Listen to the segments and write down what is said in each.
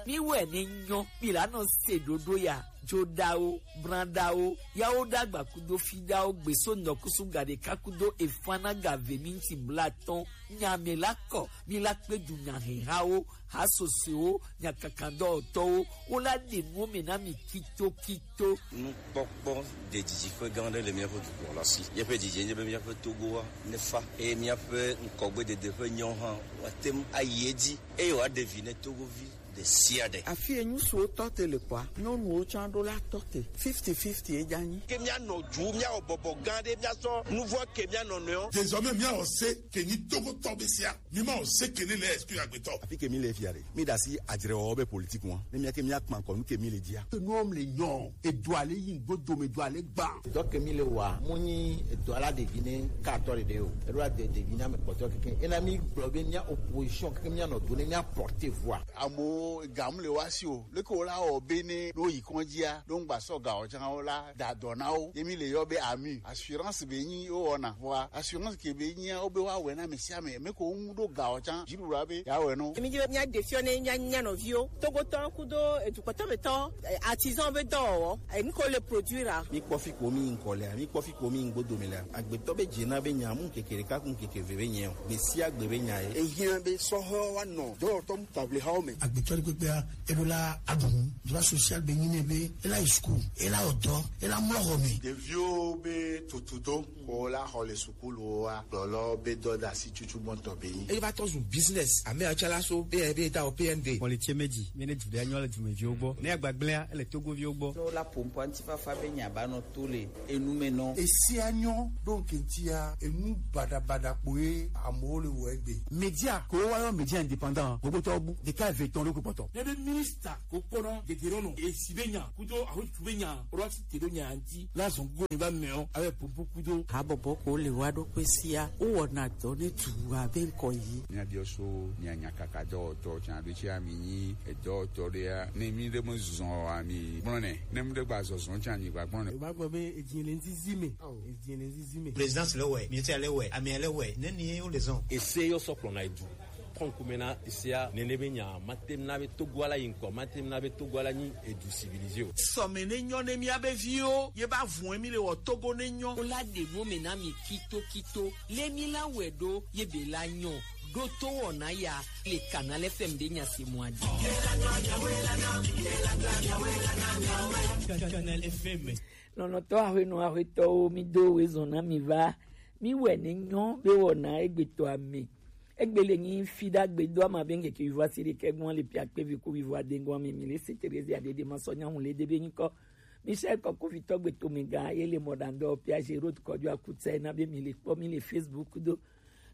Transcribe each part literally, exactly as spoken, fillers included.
Mi wɛ ne nyɔ, mi la nɔ se ɖoɖo ya, joɖawo, branɖawo, yawo ɖagba kudo fiɖawo gbeso nɔkusu gaɖeka kudo efana gave minti blatɔn, nya me la kɔ, mi la kpe du nya hehawo, ha sosoewo, nya kakandɔtɔwo, wo la ɖe nuwo me na mi kito kito. Nukpɔkpɔ de didiƒe gã aɖe le míaƒe dukɔ la si. Míaƒe didi nye be míaƒe Togoa nefa eye míaƒe ŋkɔgbedede ƒe nyawo hã woate ŋu ayi edzi eye wòaɖe vi ne Togovi ɖe sia ɖe. Afi enyu suwo tɔ te le kɔa, nyɔnuwo tsã ɖo la tɔ te. Fifty fifty ye dza nyi. Ke míanɔ dzu, míawɔ bɔbɔ gã ɖe, míasɔ nuvɔ ke míanɔ nɔewo. Désormais, míawɔ se ke nyi Togotɔ be sia. Mi ma o se ke ne le esprit agbetɔ. Afi ke mi le fia ɖe, mi ɖe asi adzrewɔwɔ be politique ŋua. Ne mía ke mía kpa ŋkɔ nu ke mi le dzia. Enuɔ mle nyɔ, edo ale yi ŋgbo dome do ale gba. Dɔ ke mi le wa, mu nyi edo ala ɖevi ne ka atɔ ɖeɖe o. Eɖo ade ɖevi na me kpɔtɔ keke. Ena mi gblɔ be mía opposition keke mía nɔ do ne mía porter voix. Amewo ga mu le wa si o. Leke wo la wɔ be ne ɖo yi kɔndzia, ɖo ŋgba sɔ ga o tsã wo la da dɔ na wo. Ye mi le yɔ be ami. Assurance be nyi wo wɔna. Vɔa assurance ke be nyia wo be wa wɛ na me sia me. Me ko ŋu ɖo ga o tsã. Dziɖuɖua be ya wɛ no. Mi dzi be mía ɖe fiɔ ne mía nya nɔviwo. Togotɔ kudo edukɔtɔ betɔ, eh, artisan be dɔwɔwɔ. Eh, nu ko le produire a. Mi kpɔ fi ko mi ŋkɔ lea, mi kpɔ fi ko mi ŋgbo dome lea. Agbetɔ be dze na be nya mu keke ɖeka ku keke ve be nyɛ o. Gbe sia gbe be nya ye. Ehiã be sɔhɔ wa nɔ dɔwɔtɔ mu table hawo me. Agbetɔ ɖe kpekpea, eɖo la aɖu nu. Droit social be nyi ne be, ela yi school, ela wɔ dɔ, ela mlɔ xɔ me. Ɖeviwo be tutudo, ko la xɔ le sukulu wa, gblɔlɔ be dɔdasi tutu gbɔntɔ be nyi. Eye va tɔ zu business, ame atsalaso, be, be ta o P N D. Kɔlitse meji, mi ne du ɖe anyɔ le dumeviwo gbɔ. Ne agbagblẽa, ele Togoviwo gbɔ. Ne wola ƒo ŋkɔ ŋutifafa be nya ba nɔ to le enu me nɔ. Esia nyɔ ɖo ŋke ŋutia, enu baɖabaɖa kpoe amewo le wɔ egbe. Media, ko woyɔ media indépendant, gbogbo tɔ bu, ɖeka eve etɔ̃ ɖo kpɔtɔ. Ne be minista ko kpɔna dede ɖo nɔ, esi be nya, kudo ahotu be nya, ro asi te ɖo nya ŋuti, la zɔn go ne va mɛ o, ave popo kudo. Habɔbɔ ko le wa ɖo kpe sia, wo wɔna dɔ ne tu abe ŋkɔ yi. Mía biɔ so, mía nya kaka dɔwɔtɔ, tsan ɖo tsi ami nyi, edɔwɔtɔ ɖe ya, ne mi ɖe me zɔn ami, gblɔ nɛ, ne mi ɖe gba zɔzɔ tsan mi gba gblɔ nɛ. Eva gbɔ be edzi le ŋzizi me, edzi le ŋzizi me. Présidence le wɛ, ministère le wɛ, amea le wɛ, ne ni wo le zɔn. Ese yɔ sɔ kplɔna edu. Kɔnkume na sia nene be nya ma tem na be Togo ala yi ŋkɔ, ma tem na be Togo ala nyi edu civilisé o. Sɔme ne nyɔ ne mía be viwo, ye ba vun mi le wɔ Togo ne nyɔ. Wo la ɖe nu me na mi kito kito, le mi la wɛ ɖo, ye be la nyɔ, ɖo to wɔna ya, le Canal F M be nya se mɔ adi. Canal F M. Nɔnɔtɔ ahwenɔ ahwetɔwo, mi do we zɔn na mi va, mi wɛ ne nyɔ be wɔna egbetɔ ame. Egbe le nyi fi ɖagbe do ama be ŋkeke wivo asi ɖekɛ gbɔn le pia kpe vi ku wivo ade gbɔn mi, mi le se Terezia ɖeɖe ma sɔ nyawu le ɖe be nyikɔ. Michel Kɔkovitɔ gbe to mi ga ye le mɔ ɖandɔ pia Gerode kɔjo akutsɛ na be mi le kpɔ mi le Facebook do.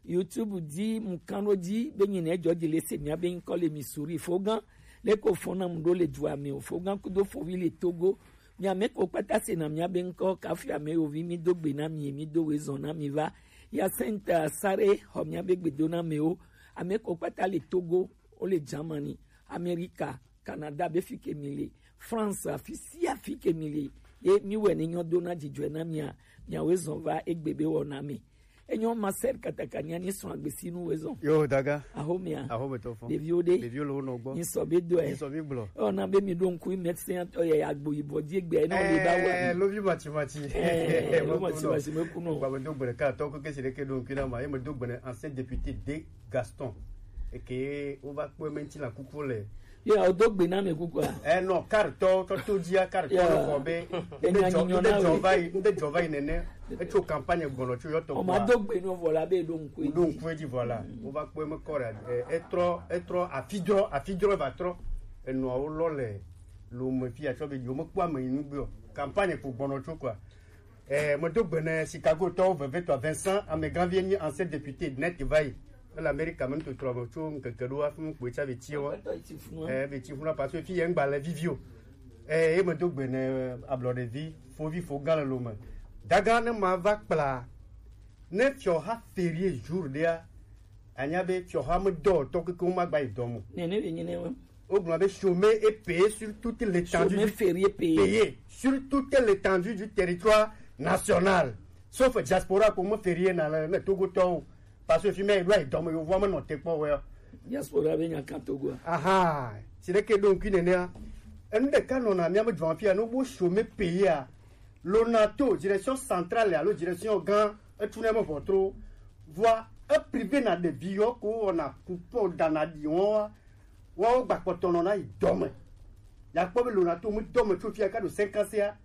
YouTube dzi mu kan ɖo dzi be nyi ne dzɔ dzi le se mia be nyikɔ le mi suri fo gã. Le ko fo na mu ɖo le dua me o fo gã kudo fo wi le Togo. Mia me ko kpata se na mia be ŋkɔ kafi ame yo vi mi do gbe na mi mi do we zɔn na mi va. Hyacinthe Asare xɔ mia be gbedo na me o. Ame ko kpata le Togo, o le Germany, America, Canada be fi ke mi le, France, afi sia afi ke mi le. Ye mi wɛ ne nyɔ do na dzidzɔe na mia, mia we zɔn va egbe be wɔna me. Enyo Marcel Katakania ni srɔ̃ agbesinu wezɔn. Yo daga. Ahomia. Ahome tɔfɔ. Ɖeviwo ɖe. Ɖeviwo le wo nɔ gbɔ. Ni sɔ be dɔɛ. Ni sɔ be gblɔ. Ɔ na be mi ɖo ŋku médecin tɔ yɛ agbo yibɔ di egbe na wo le ba wa. Eh, lovi mati mati. Eh, lo mati mati me kuno. Ba me do gbere ka tɔ ko kesi ɖeke ɖo ŋku na ma, ye me do gbere ancien député de Gaston. Eke wo va kpɔ me ŋti la kuku le. Ye o do gbe na me kuku a. Eh non, kartɔ tɔ to dia kartɔ le xɔ be. Enya nyi nyɔ na we. Nde dzɔ va yi, nde dzɔ va yi nene. Etso campagne gbɔnɔ tso yɔtɔ. O ma do gbe no vɔ la be do ŋku. Do ŋku di vɔ la. Wo va kpɔ me kɔ ɖe. Etrɔ etrɔ afidrɔ afidrɔ va trɔ. Enɔ wo lɔ le lo me fi atsɔ be yo me kpɔ ame yi nu gbe o. Campagne ko gbɔnɔ tso quoi. Eh, medo gbe ne Chicago tɔwo vevetɔ Vincent Ameganvie nyi ancien député net va yi. Ele Amerika me nutotrɔ me tso ŋkeke ɖo hafi ŋkpɔe tsa be tiɛ wa. Eh, be ti funa parce que fi yɛ ŋgba le vivi o. Eh, ye medo gbe ne ablɔɖevi fovi fo gã le lo me. Daga ne ma va kpla ne fiɔha férié jour ɖea, anya be fiɔha me dɔ tɔ keke wo ma gba yi dɔ mo. Nene be nyi ne wo. Wogblɔ be chômé est payé sur toute l'étendue. Chômé férié payé. Payé sur toute l'étendue du territoire national. Sauf diaspora ko me férié na le ne Togotɔwo. Parce que fi mɛ ɖo ayi dɔme yovoa me nɔ te kpɔ wɛ. Diaspora be nya kan Togo a. Aha, ti ɖe ke ɖo ŋkui nenea. Enu ɖeka nɔna mía me dzɔn afia, ne wo chômer pays a, Lonato, direction centrale alo direction gã, etu ne me ʋɔtro. Vɔa, e privé na ɖevi yɔ ko wɔna coupon dana ɖi wɔn wa. Woawo gba kpɔtɔ nɔ na yi dɔ me. Ya kpɔ be Lonato me dɔ me tso fia ka ɖo cinq ans ya,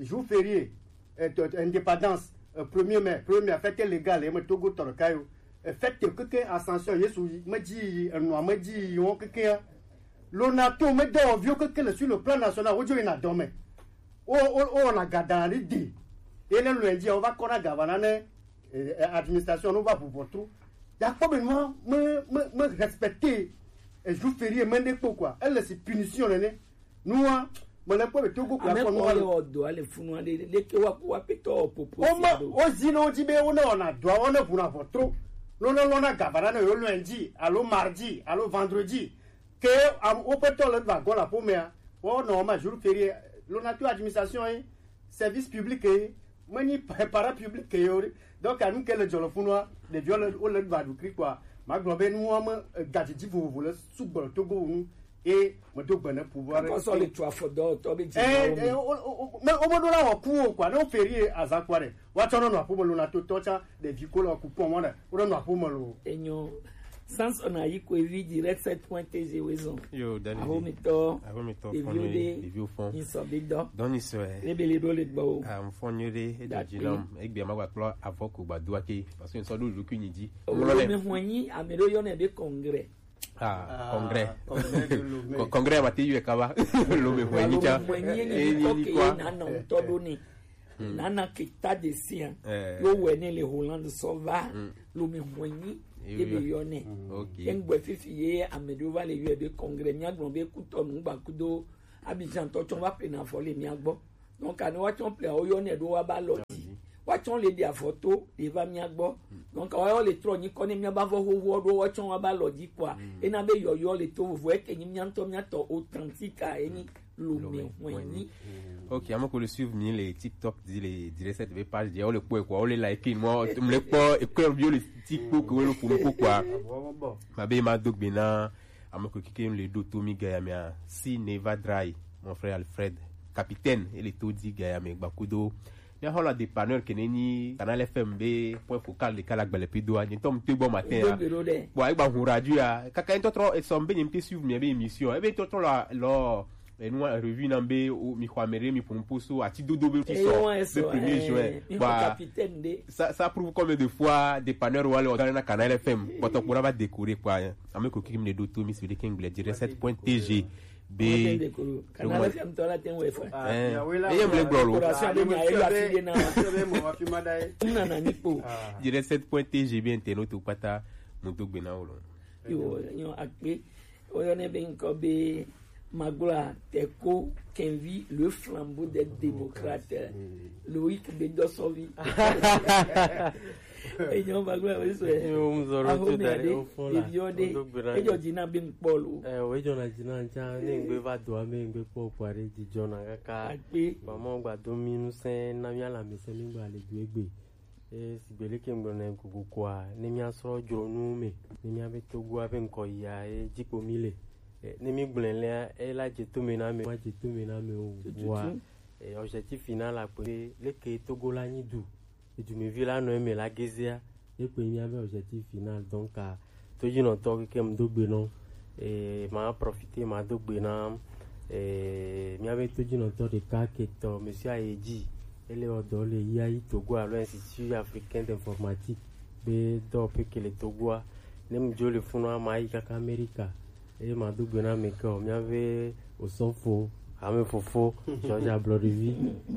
jour férié, eh, to- to- indépendance, eh, premier mai, premier mai, fête légale, eme Togo tɔ ɖeka yo. Eh, fête keke Ascension, Yesu yi, me dzi yi, enua me dzi yi wɔn keke ya. Lonato me dɔwɔviwo keke le sur le plan national, wodzo yina dɔ me. Wo wo wo wɔna gada ni di. Ye ne lundi ya, wova kɔna gavana ne eh, eh, administration no va ʋuʋɔ tro. Ya kpɔ be nua me me me respecter eh, jour férié me ne kpɔ quoi. Elle c'est punition ne ne. Nua me le kpɔ be Togo kura Ame kpɔ kɔ nua le le. Ɔdɔ ale funu ale leke wa wa petɔ popo. O ma o zi no di be o ne ona dua o ne ʋuna ʋɔ tro. No ne lɔna gavana ne yo lundi alo mardi alo vendredi. Ke am o petɔ le va gɔ la pomea. Wo no ma jour férié. Lona tu administration service public ye, menyi pa- parapublic ye o ɖe. Donc anu ke le dzɔ le funua, ɖeviwo le wole ɖu aɖukli kpɔa, magblɔ be nuwo me eh, gadzidzi vovovo le sugbɔ le Togo nu. Ye medo gbe ne pouvoir. Akɔsɔ le tu afɔ dɔwɔtɔ be dzi Eh, eh, o- o- o- me- womeɖo la wɔ ku o kua, ne woferi ye azã kua ɖe, woatsɔ nɔ nɔ aƒeme lo na totɔ tsã, ɖevi ko le ku pɔn mɔ ɖe, woɖe nɔ aƒeme lo. Enyo. Samson ayi ko evi direct sept point T G wezɔn. Yo, Daniel. Ahomitɔ. Ahomitɔ, ɖeviwo fɔn ɖe, ɖeviwo fɔn. Nyisɔ bi dɔ. Dɔn nyisɔ ɛ. Ebe le ɖo le gbɔ o. Ah, mfɔn nyuie ɖe, edo dzi nam. Egbe ma gba kplɔ avɔ ko gba do ake, parce que nsɔ ɖo ɖokui nyi dzi. O Mlɔ lɛ. Me hɔn nyi, ame ɖo yɔ ne be congrès. Ah, congrès. Congrès de Lomé. Co- congrès ma te yɔ kaba. Lo me hɔn nyi tsa. Lo me hɔn nyi, eh, nyi kɔ ke na na ŋutɔ ɖo ne. Nana Keita de sia. Eh. Yo wɛ ne le Hollande sɔ va. Lo me hɔn nyi. Ebe yɔ nɛ. Ok. Eŋgbɛ fifi ye ame ɖewo va le yɔe be congrès, míagblɔ be Kutɔnu gba kudo Abidjan tɔ tsɔ va ƒle na avɔ le mía gbɔ. Donc ane woatsɔ ƒle awo yɔ nɛ ɖo woaba lɔ dzi. Woatsɔ le ɖi avɔ to le va mía gbɔ. Donc woawo le trɔ nyi kɔ ne míaba vɔ xoxoɔ ɖo woatsɔ woaba lɔ dzi kpɔa. Ena be yɔyɔ le to vovo eke nyi mía ŋutɔ mía tɔ authentique a enyi. Lome hwenyi. Ok, ame ko le suivre mi le TikTok di le direct cette be page di, o le kpɔ ekɔ, o le like mo, mo le kpɔ ekɔ bi o le TikTok ko le kpɔ ko kwa. Ma be ma do gbe na ame ko kike le do to mi ga ya mi a, si Neva Dry, mon frère Alfred, capitaine, e le to di ga ya mi gba kudo. Mi a hola dépanneur ke ne ni Canal F M be point focal de kala gbele pido a, ni tom te bon matin a. Bon, e gba hu radio a, kaka en totro e som be ni te suivre mi be émission, e be totro la lo. Enu revue na be o- mi xɔ ame ɖe mi ƒo nuƒo so ati dodo be ti sɔ be premier juin. Ba capitaine de. Ça, ça prouve combien de fois dépanneur wa le ɔdɔ na Canal F M. Kpɔtɔ kpɔ na va décorer quoi. Ame ko kiki mi le ɖo to mi si de kengble direct sept point T G be. Canal F M tɔ la te wɛ fa. Eh, eye mi le gblɔ lo. Décoration de mi ayi la fi de na. Na na ni po. Direct sept point T G be internaute kpata mo do gbe na wo lo. Yo, yo akpe. Woyɔnɛ be ŋkɔ be Magloire Teko Kenvi, le flambeau des démocrates. Loïc Bedossovi. Enyo Magloire, oui, c'est. Yo, mzoro tu dare ofon la. Eviode. Ejo dina be ŋkpɔlo. Eh, we jona dina ncha ne ngbe va do ame ngbe kpɔ kpare di jona kaka. Akpe. Maman gba do mi nu se na mi ala mi se mi gba le du egbe. E sigbe leke ŋgblɔ nɛ gogo koa, ne míasrɔ̃ dzronuwo me, ne míabe Togoa be ŋkɔ yia, e dzi ko mí le. E, ne mígblɔe lea, e la dze to me na ame, ma dze to me na ame o. Tututu. Vɔa, e, objectif final la kpe be leke Togo la nyi du, edumevi la nɔ eme la gezea, ye kpe míabe objectif final. Donc, a, Todzinɔtɔ keke ŋdo gbe nɔ. Eh, ma profiter ma do gbe na, eh, míabe todzinɔtɔ ɖeka ketɔ, Monsieur Ayedzi. Ele wɔ dɔ le I A I Togo alo Institut Africain d'Informatique be dɔwɔƒe ke le Togoa. Ne mu dzo le funua, ma yi kaka Amerika. Eye ma do gbe na ame ke o, míabe Osɔfo, ame fofo, George Ablɔɖevi.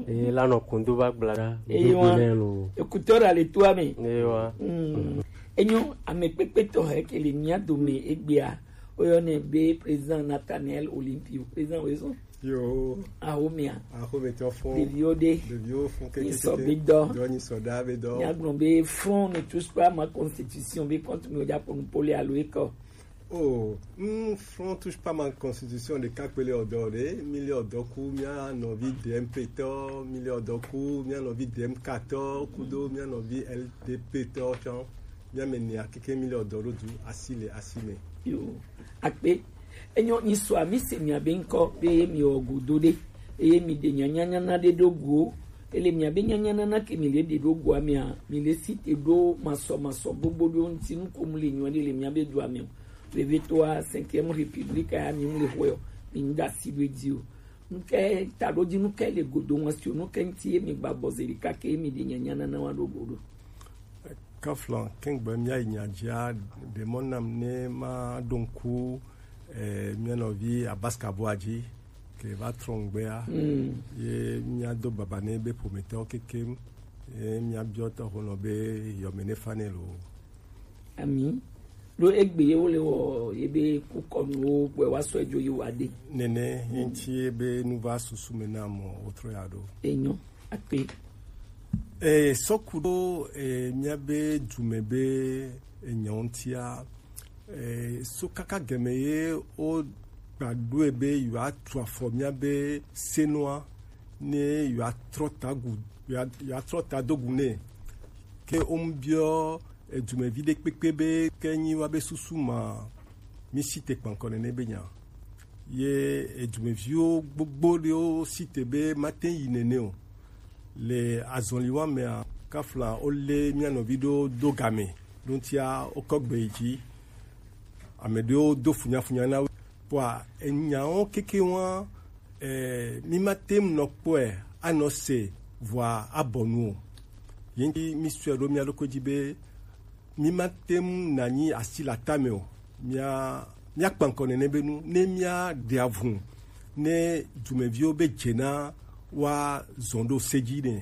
Eye la nɔ kundo va gbla ɖa. Eye wa, do gbe nɛ lo. Écouteur a le toa me. Eye wa. Mm. Enyo, ame kpekpe tɔ he ke le mía dome egbea. Woyɔnɛ be président Nathaniel Olympio. Président Wezon. Yo. Ahomia. Ahometɔ fɔ. Ɖeviwo ɖe. Ɖeviwo fɔ keke. Nyisɔ be dɔ. Dɔ nyisɔ da be dɔ. Míagblɔ be Front ne touche pas ma constitution be compte me dza ƒo nu pole alo ekɔ. Oh, mm, Front touche pas ma constitution ɖeka kpe le ɔdɔ ɖe, mi le ɔdɔ ku mía nɔvi D M P tɔ, mi le ɔdɔ ku mía nɔvi D M K tɔ, kudo mía nɔvi L D P tɔ tsɔ. Mía me nea keke mi le ɔdɔ ɖo du asi le asi me. Yo, akpe. Enyo nyi sua mi se mia be ŋkɔ be mi wɔ godo ɖe. Eye mi ɖe nyanyanyana ɖe ɖo go. Ele mia be nyanyanana ke mi le ɖe ɖo goa mia, mi le si te ɖo masɔ masɔ gbogbo ɖo ŋuti nu ko mu le nyɔ ɖe le mia be dua me o. Vevetoa cinquième république ya mi mu le hwe o. Mi ŋda si ɖo edzi o. Nuke ta ɖo dzi nuke le godo ŋua si o, nuke ŋuti ye mi gba bɔ ze ɖeka ke ye mi ɖe nyanyanana wa ɖo go ɖo. Kaflan, kengbe mía yi nya dzia, ɖe mɔ nam ne ma ɖo ŋku, eh, mía nɔvi Abaska Boadji, ke va trɔ ŋgbea, ye mía do baba ne be ƒometɔwo kekem, ye mía biɔ tɔxonɔ be yɔme ne fa nɛ lo. Ami. Ɖo egbe ye wo le wɔ ye be kukɔnuwo gbɛ wa sɔ edzo yi wa de. Nene, ye ŋuti ye be nu va susu me na mɔ wotrɔ ya ɖo. Enyo. Akpe. Eh, sɔku ɖo, eh, mía be dume be enyawo ŋutia, eh, so kaka gɛmɛ ye wo gba ɖoe be yewoa tu afɔ mía be senua, ne yewoa trɔ ta gu, yewoa, yewoa trɔ ta do gu nɛ. Ke wo mu biɔ edumevi ɖe kpekpe be ke nyi wa be susu ma, mi si te kpankɔ nene be nya. Ye edumeviwo gbogbo ɖewo si te be mate yi nene o. Le azɔli wa mea, kafla wo le mía nɔvi ɖo do game, ɖo ŋutia wo kɔ gbe yi dzi. Ame ɖewo do funyafunya na wo. Kpɔa, enyawo keke wa, eh, mi mate ŋu nɔ kpɔe anɔ se vɔa abɔ nu o. Ye ŋuti mi sɔe ɖo mía ɖokui dzi be mi mate ŋu nanyi asi le atame o. Mía, mía kpankɔ nene be nu, ne mía ɖe avu, ne dumeviwo be dze na wa zɔn ɖo se dzi nɛ.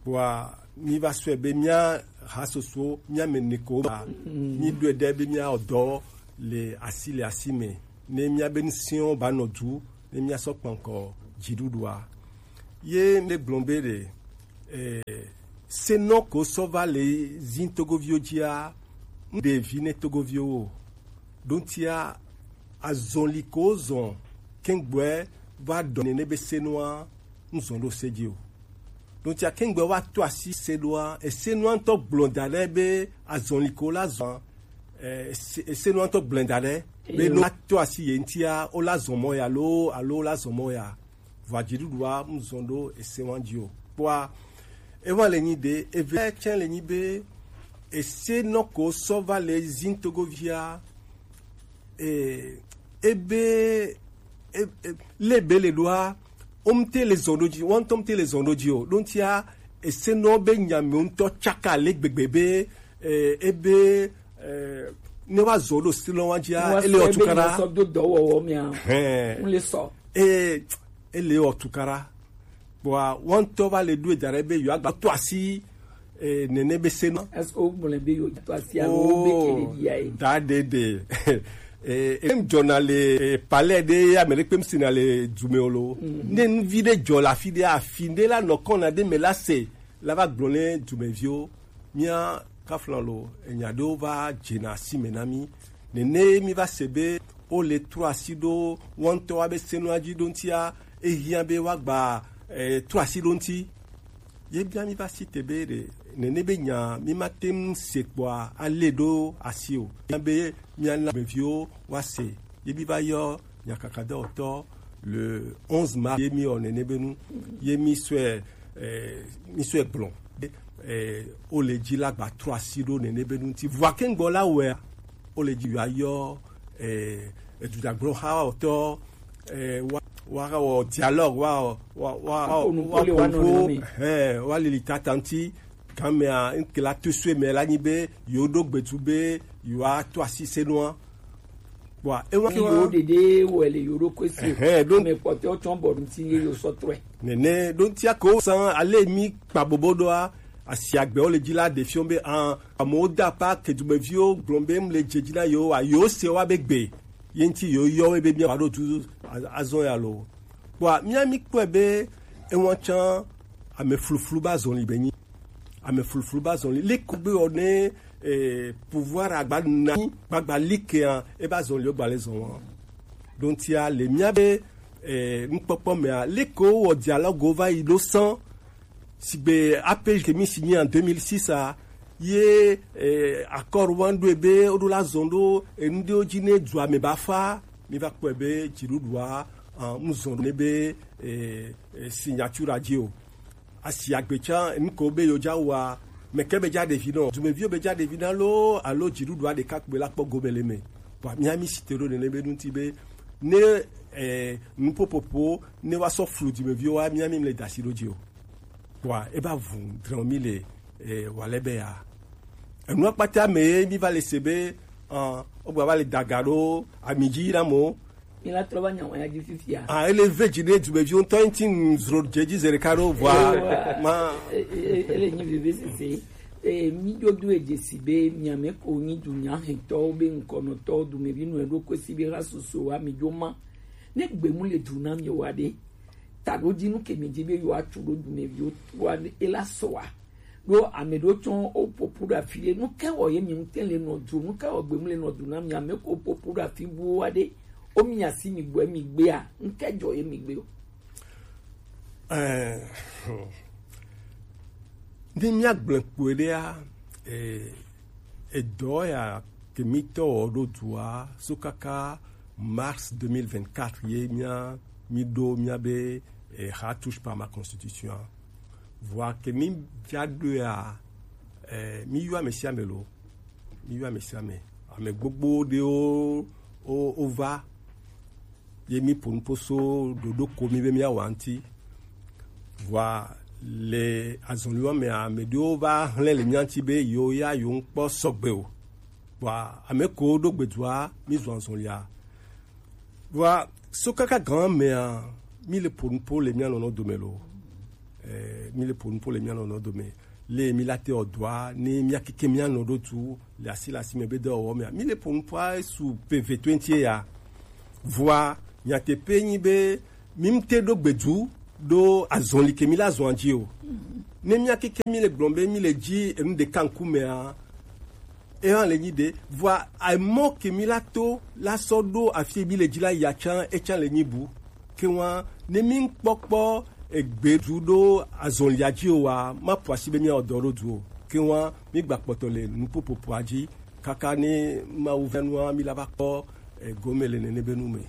Kpɔa, mi va sɔe be mía hasoso, mía me ne ko ba, mi ɖoe ɖe be mía ɔdɔ le asi le asi me. Ne mía be ŋusẽwo ba nɔ du, ne mía sɔ kpankɔ dziɖuɖua. Ye ne gblɔ be ɖe, eh, senɔ ko sɔ va le zin togoviwo dzia, ŋɖe vi ne togoviwo o. Ɖo ŋutia, azɔli ko zɔn kɛngbɔɛ va ɖɔ nene be senua, ŋzɔn ɖo se dzi o. Ɖo ŋutia kɛngbɔɛ wa to asi senua, esenua ŋutɔ gblɔ da ɖe be azɔli ko la zɔn, eh, ese-, esenua ŋutɔ gblɔ da ɖe be no to asi ye ŋutia, wo la zɔn mɔ ya alo, alo wo la zɔn mɔ ya. Vɔa dziɖuɖua ŋzɔn ɖo ese wa dzi o. Kpɔa, ewa le nyi ɖe, eve tsɛ le nyi be, ese nɔ ko sɔ va le zin togovia, e, ebe, e, e, le be le ɖoa, wo ŋte le zɔn ɖo dzi, wo ŋtɔ ŋte le zɔn ɖo dzi o. Ɖo ŋtia, ese nɔ be nya me ŋtɔ tsaka le gbegbe be, e, ebe, e, ne wa zɔ ɖo se lɔ wa dzia, ele wa tukara. Sɔ do dɔwɔwɔ mia. Hɛn. Ŋle sɔ. E, ele wɔ tukaɖa. Kpɔa, wo ŋtɔ va le ɖoe da ɖe be yewoagba to asi, eh, nene be se nɔ. Est-ce que wogblɔe be yewoto asi alo wobe ke ɖeɖi ya ye? Da ɖeɖe. Eh, em dzɔna le, eh, palais ɖe ame ɖe kpe ŋsina le du me o lo. Ne nuvi ɖe dzɔ le afi ɖe, afi ɖe la nɔ kɔna ɖe me la se, la va gblɔ ne dumeviwo. Mía kafla lo, enya ɖewo va dzena asi me na mí. Nene mí va se be wo le trɔ asi ɖo wo ŋutɔ wa be senua dzi ɖo ŋutia, ehiã be woagba, eh, trɔ asi ɖo ŋuti. Ye bia mí va si te be ɖe nene be nya mí ma te ŋu se kpɔa, ale ɖo asi o. Bia be mía na meviwo wa se. Ye mí va yɔ nyakakadɔwɔtɔ le onze mars ye mí wɔ nene be nu, ye mí sɔe, eh, mí sɔe gblɔ. Eh, wo le dzi la gba trɔ asi ɖo nene be nu ŋuti. Vɔa kɛngbɔ la wɛa, wo le dzi yɔ ayɔ, eh, edudzagblɔ ha wɔtɔ, eh, wa, wa wɔ dialogue, wa, wa, wa, wa, wa konko, eh, wa lili tata ŋuti. Gamea, ŋke la to sue me la nyi be, yewo ɖo gbedu be, yewoa to asi senua. Bua, ewa ke wa. Yewo ɖeɖe wɔ le yewo ɖokui si. Ɛhɛn, ɖo. Ame kpɔtɔewo tsɔ bɔ ŋuti ye yewo sɔ trɔe. Nene, ɖo ŋutia ko san ale mí kpa bobo ɖoa, asi agbewo le dzi la ɖe fiɔ be, an, amewo da pa ke dumeviwo gblɔ be, m le dze dzi na yewo, a, yewo se wa be gbe. Ye ŋuti yewo yɔ wo be mía va ɖo tu a-, azɔ ya lo. Bua, mía mí kpɔe be, ewa tsã ame fluflu ba zɔli be nyi. Ame fluflu ba zɔli. Leke be wɔ ne, eh, pouvoir agba na gbagba likea, e ba zɔli o gba le zɔn wa. Donc, tia le mía be, eh, nukpɔkpɔ mea, leke wɔ dialogue va yi ɖo san, sigbe A P G ke mi signé en deux mille six a, ye eh, accord wan ɖo ebe woɖo la zɔn ɖo enu ɖewo dzi ne dua me ba fa, mi va kpɔe be dziɖuɖua ah, mu zɔn ɖo ne be eh, eh, signature dzi o. Asi agbe tsã enu ko be yewo dza wɔa, meke be dza ɖevi nɔ, dumeviwo be dza ɖevi na loo alo dziɖuɖua ɖeka kpoe la kpɔ gome le me. Vɔa mía mi si te ɖo nene be ŋuti be ne eh, nuƒoƒoƒo ne woasɔ flu dumeviwo wa mía mi le da asi ɖo dzi o. Vɔa eba vu drɔ̃ mi le eh, wale be ya. Enua kpata me ye mi va le se be ah, wogba va le daga ɖo ami dzi na mo. Mi la trɔ va nya wɔn ya dzi fifia. Ah, ele ve dzi ne dumeviwo ŋutɔ ŋuti ŋu zro dze dzi zi ɖeka ɖo vɔa. Ewa. Ma. E- e- e- ele nyi veve sese. E, mi ɖo do edze si be miame ko nyi dunya hɛntɔwo be ŋkɔnɔtɔwo dumevi nɔ eɖo kosi be ha soso wa mi ɖo ma. Ne gbemu le du na mi wa ɖe, taɖo dzi nu ke mi dzi be yewoa tu ɖo dumeviwo wa ɖe, ela sɔa. Ɖo ame ɖewo tsɔ wo ƒoƒu ɖe afi ɖe. Nu ke wɔ ye mi ŋute le nɔ du? Nu ke wɔ gbemu le nɔ du na mi? Ame ko ƒoƒu ɖe afi buwo wa ɖe. Wo mi asi mi gbɔe mi gbea. Nu ke dzɔ ye mi gbe o? Eh, ne míagblẽ kpɔe ɖea, eh, edɔ ya ke mítɔ wɔ ɖo dua so kaka mars deux mille vingt-quatre ye mía mi ɖo mía be eh, ha touche pas ma constitution. Vɔa ke mi via ɖoea, eh, mi yɔ ame sia ame lo, mi yɔ ame sia ame, ame gbogbo ɖewo o o va ye mi ƒo nuƒo so ɖoɖo ko mi be miawɔ ŋuti. Vɔa le azɔliwo mea, ame ɖewo va hlẽ le mía ŋuti be yewo ya yewo ŋkpɔ sɔgbe o. Vɔa ame ko ɖo gbedua mi zɔ azɔlia. Vɔa so kaka gan mea, mi le ƒo nuƒo le mía nɔnɔ dome lo. Eh, mi le ƒo nuƒo le mía nɔnɔ dome. Le mi la te ɔdɔa ne mía keke mía nɔ ɖo tu le asi le asi me be dɔwɔwɔ mea, mi le ƒo nuƒoa su pe ve twenty ya. Vɔa nyateƒe nyi be mi ŋute ɖo gbedu ɖo azɔli ke mi la zɔa dzi o. Ne mía keke mi le gblɔm be mi le dzi enu ɖeka ŋkumea, eya le nyi ɖe. Vɔa emɔ ke mi la to la sɔ ɖo afi mi le dzi la ya tsã etsã le nyi bu. Ke wa ne mi ŋkpɔkpɔ egbe ɖu ɖo azɔlia dzi o wa, ma ƒo asi be mía ɔdɔ ɖo du o. Ke wa mi gba kpɔtɔ le nuƒoƒoƒoa dzi kaka ne Mawu vɛ nua mi la va kpɔ egome le nene be nu me.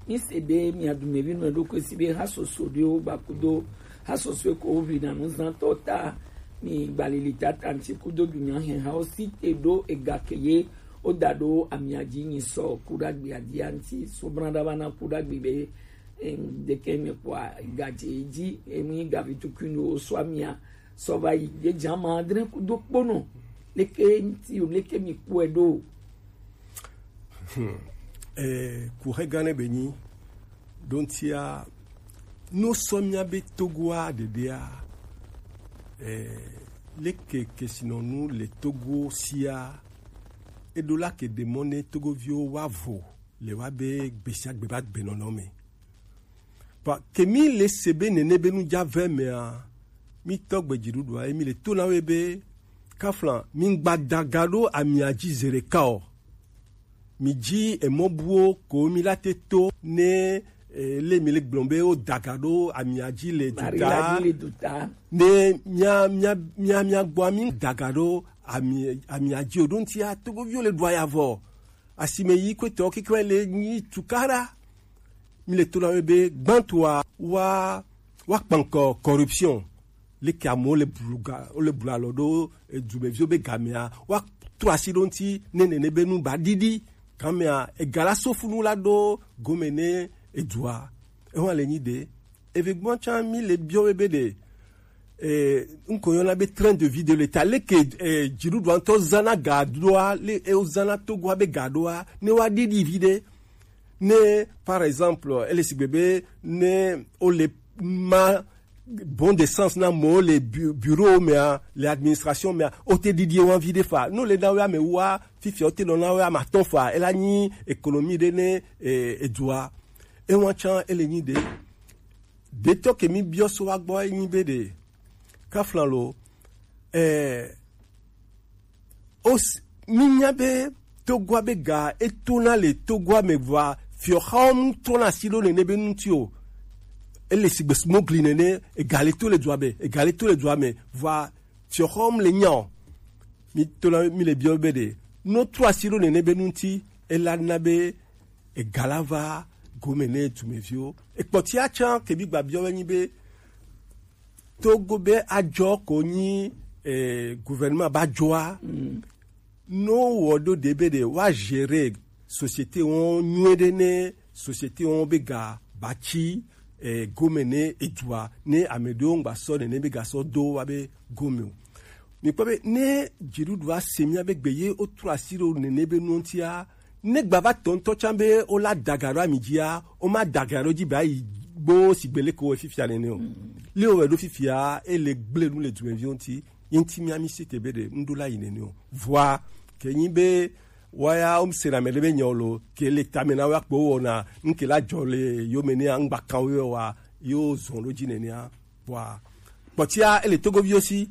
Mi se be mia dumevi nɔ ɖokui si be ha soso ɖewo gba kudo ha soso ko wo ʋli na nuzãtɔ ta mi gbalili tata ŋti kudo dunya hɛn ha wo si te ɖo ega ke ye wo da ɖo amia dzi nyi sɔ ku ɖa gbia dia ŋti so bla ɖa va na ku ɖa gbi be Em, ɖeke me kpɔa gadze dzi emi gavi tukui nu wo sɔ amia sɔ va yi ɖe dza ma adre kudo kpono leke ŋti o leke mi kpɔe ɖo. Eh, kuxe gã ne be nyi ɖo ŋtia no sɔ mía be Togoa ɖeɖea. Eh, leke kesinɔnu le Togo sia eɖo la ke ɖe mɔ ne Togoviwo wa vo le wa be gbesiagbe va gbenɔnɔ me. Vɔ ke mi le se be nene be nu dza vɛ mea, mi tɔ gbe dziɖuɖua ye mi le to na wo be kafla mi ŋgba daga ɖo amia dzi ze ɖeka o. Mi dzi emɔ buwo ko mi la te to ne eh, le mi le gblɔm be wo daga ɖo amia dzi le Mari la duta dzi le duta. Ne mia mia mia mia gbɔ mi daga ɖo ami amia dzi o ɖo ŋtia togoviwo le ɖua ya vɔ asime yi kwetɔ kikwe le nyi tukara. Mi le to na wo be gbãtɔa wa wa kpankɔ corruption. Leke amewo le blu ga wo le blu alɔ ɖo edumeviwo be gamea wa trɔ asi ɖo ŋuti ne nene be nu ba ɖiɖi gamea ega la so funu la ɖo gome ne edua. Ewa le nyi ɖe eve gbɔ tsã mi le biɔ be be ɖe eh, ŋkɔ yɔna be train de vie de l'État leke eh, dziɖuɖua ŋutɔ zana ga ɖoa le ewozana togoa be ga ɖoa ne wa ɖiɖi vi ɖe. Ne par exemple ele sigbe be ne ole ma bon de sens na mo le bu- bureau mea le administration mea o te didi wa vi de fa no le na wa me wa fifia o te no na wa ma ton fa ela nyi économie de ne eh, edua e wan chan ele nyi de de to ke mi bio so wa gbo nyi be de kaflan lo eh, Os, mi nya be togoa be ga etona le togoa me vɔa fiɔxawo mu trɔna asi ɖo nene be ŋuti o. Ele sigbe smogli nene ega le to le dua me ega le to le dua me vɔa fiɔxawo mu le nya o. Mi to la mi le biɔ be ɖe, no trɔ asi ɖo nene be nu ŋuti, ela na be ega la va gome ne dumeviwo. Ekpɔtia tsã ke mi gba biɔ be nyi be, Togo be adzɔ ko nyi, eh, gouvernement ba dzɔa. No wɔ ɖo ɖe be ɖe wa gérer société wɔn nyuie ɖe ne société wɔn be ga ba tsi, eh, gome ne edua ne ame ɖewo ŋgba sɔ nene be ga sɔ do wa be gome o. Mi kpɔ be ne dziɖuɖua se mia be gbe ye wotrɔ asi ɖo nene be nuwo ŋutia, ne gbava tɔ ŋutɔ tsã be wola daga ɖo ami dzia, woma daga ɖo dzi be ayi gbo sigbe leke wo fifia nene o. Le wo wɛ ɖo fifia, ele gble nu le dumeviwo ŋuti, ye ŋuti mia mi si te be ɖe ŋɖo la yi nene o. Vɔa, ke nyi be woya wom sena ame ɖe be nyawo lo, ke le tame na wo akpo wɔna, ŋke la dzɔ le yome ne ŋgba kan wo wa, yo zɔn ɖo dzi nenea. Vɔa, kpɔtia ele togoviwo si,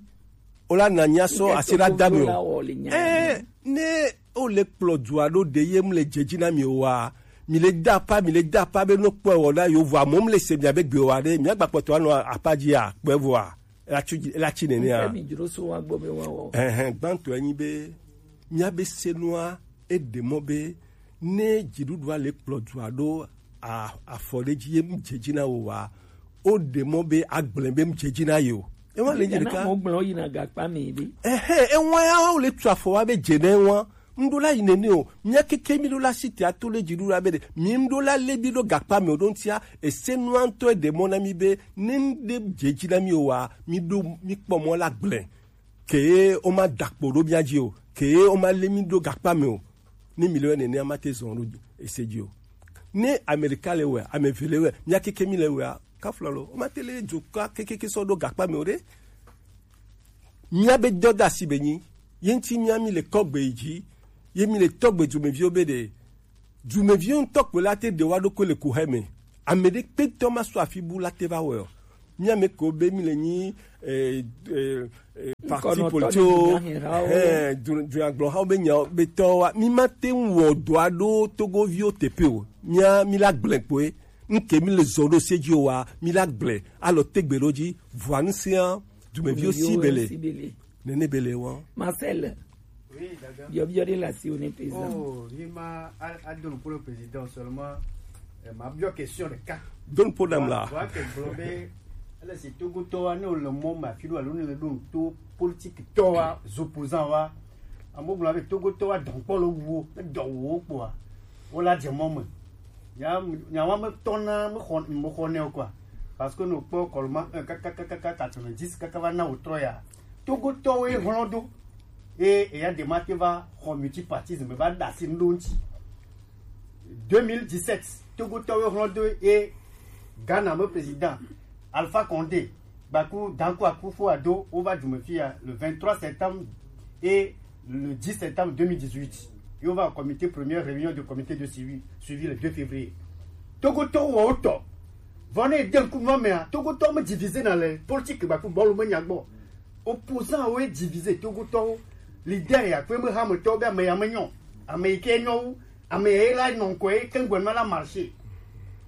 wola na nya sɔ asi la da mi o. Ɛɛ, ne wole kplɔ dua ɖo ɖe ye mle dze dzi na mi o wa, mi le da apa, mi le da apa be no kpɔ wɔ na yo vɔa, mo mle se mia be gbe wa ɖe, mia gba kpɔtɔ anɔ apa dzi a kpɛ vɔa, ela tsi nenea. Ɛhɛn, gbãtɔ enyi be, mia be senua, eɖe mɔ be, ne dziɖuɖua le kplɔ dua ɖo a-, afɔ ɖe dzi ye mu dze dzi na wo wa, o ɖe mɔ be agblẽ be mu dze dzi na ye o. Ewa le dzi ɖeka. Mo gblẽ yina gakpa mi ɖe. Ɛhɛn, ewa ya wo le tu afɔ wa be dze na ewa. Ŋɖo la yi nene o. Mia keke mi ɖo la si te ato le dziɖuɖua be ɖe. Mi ŋɖo la le bi ɖo gakpa mi o ɖo ŋutia. Ese nua ŋutɔ eɖe mɔ na mi be ne ŋɖe dze dzi na mi o wa, mi ɖo mi kpɔ mɔ la gblẽ. Ke ye woma da kpo ɖo mia dzi o, ke ye woma lé mi ɖo gakpa me o. Ne mi le wɛ nenea, ma te zɔn ɖo ese dzi o. Ne Amerika le wɛ, ame eve le wɛ, mia keke mi le wɛa, kafla lo, woma te lé dzoka kekeke sɔ ɖo gakpa me o ɖe. Mia be dɔdasi be nyi, ye ŋuti mia mi le kɔgbe yi dzi, ye mi le tɔgbe dumeviwo be ɖe, dumeviwo ŋutɔ kpoe la te ɖe wa ɖokui le kuxɛ me. Ame ɖe kpetɔ ma sɔ afi bu la te va wɛ o. Mia me ko be mi le nyi, eh, eh, eh, parti politique o, eh, du-, dunyagblɔhawo be nya be tɔ wa. Mi ma te ŋu wɔ dɔ aɖo togoviwo teƒe o. Mia, mi la gblẽ kpoe. Ŋke mi le zɔ ɖo se dzi o wa, mi la gblẽ. Alɔ tegbe ɖo dzi. Vɔa ŋusẽa, dumeviwo si be le. Nene be le wa. Marcel. Oui, Dada. Biɔbiɔ ɖe le asiwò ne président. Oh, mi ma a, a do nuƒo le président seulement, eh, ma biɔ question ɖeka. Do nuƒo nam la. Wa ke gblɔ be ele si Togotɔwa ne wole mɔ me afi ɖo alo ne le ɖo to politique tɔwa, opposant wa. Amewo gblɔ be Togotɔwa dɔnkpɔ le wu wo, ne dɔ wu wo kpoa, wo la dze mɔ me. Nya, nya wa me tɔna, me xɔ, me xɔ ne o quoi. Parce que no kpɔ kɔlɔma un kaka, kaka, kaka quatre-vingt-dix kaka va na wo trɔ ya. Togotɔwoe hlɔ̃ ɖo. Eye eya ɖe ma te va xɔ multipartisme va ɖe asi ŋɖo ŋuti. Deux mille dix-sept, Togotɔwo hlɔ̃ do ye Ghana me président Alpha Condé, Baku, Danko Akufo-Addo, wova du me fia le vingt-trois septembre et le dix septembre deux mille dix-huit. Ye wova comité, première réunion du comité de suivi, suivi le deux février. Togotɔwo wɔ wotɔ. Vɔ ne ede ŋku nua mea, Togotɔwo me divisé na le politique Baku bɔlu me nya gbɔ. Opposant wo divisé Togotɔwo. Leader ya kpe me hametɔwo be ame ya me nyɔ. Ame yi ke nyɔ wu, ame ya la nɔ ŋkɔ ye ke ŋgɔ na la marché.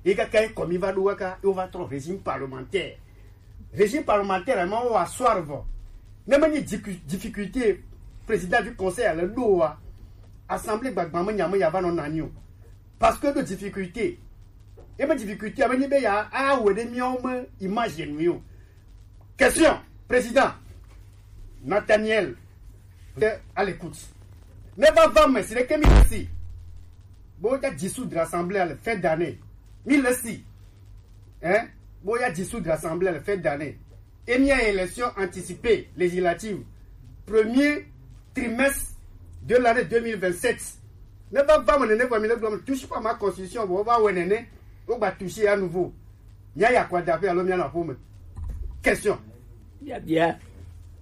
Ye kaka ye kɔmi va ɖo kaka, ye wova trɔ régime parlementaire. Régime parlementaire ma wa soir vɔ. Ne me ni dicu-, difficulté président du conseil le ɖo wa. Assemblée gbagba me nya me ya va nɔ nani o. Parce que de difficulté. Ye me difficulté, ame ni be ya, a, wɔ ɖe miawo me image nu yo. Question, président Nathaniel, t'es à l'écoute. Ne va va, mais c'est que mi si. Bon, il y a dissoudre l'Assemblée à la fin d'année. Mi le si. Hein? Bon, il y a dissoudre l'Assemblée à la fin d'année. Et il y a élection anticipée, législative. Premier trimestre de l'année deux mille vingt-sept. Ne va pas me, ne va me, ne touche pas ma constitution, bon, on va ouais, ne, on va toucher à nouveau. Mia ya kwa dape alo mia na ƒome. Question. Biabia.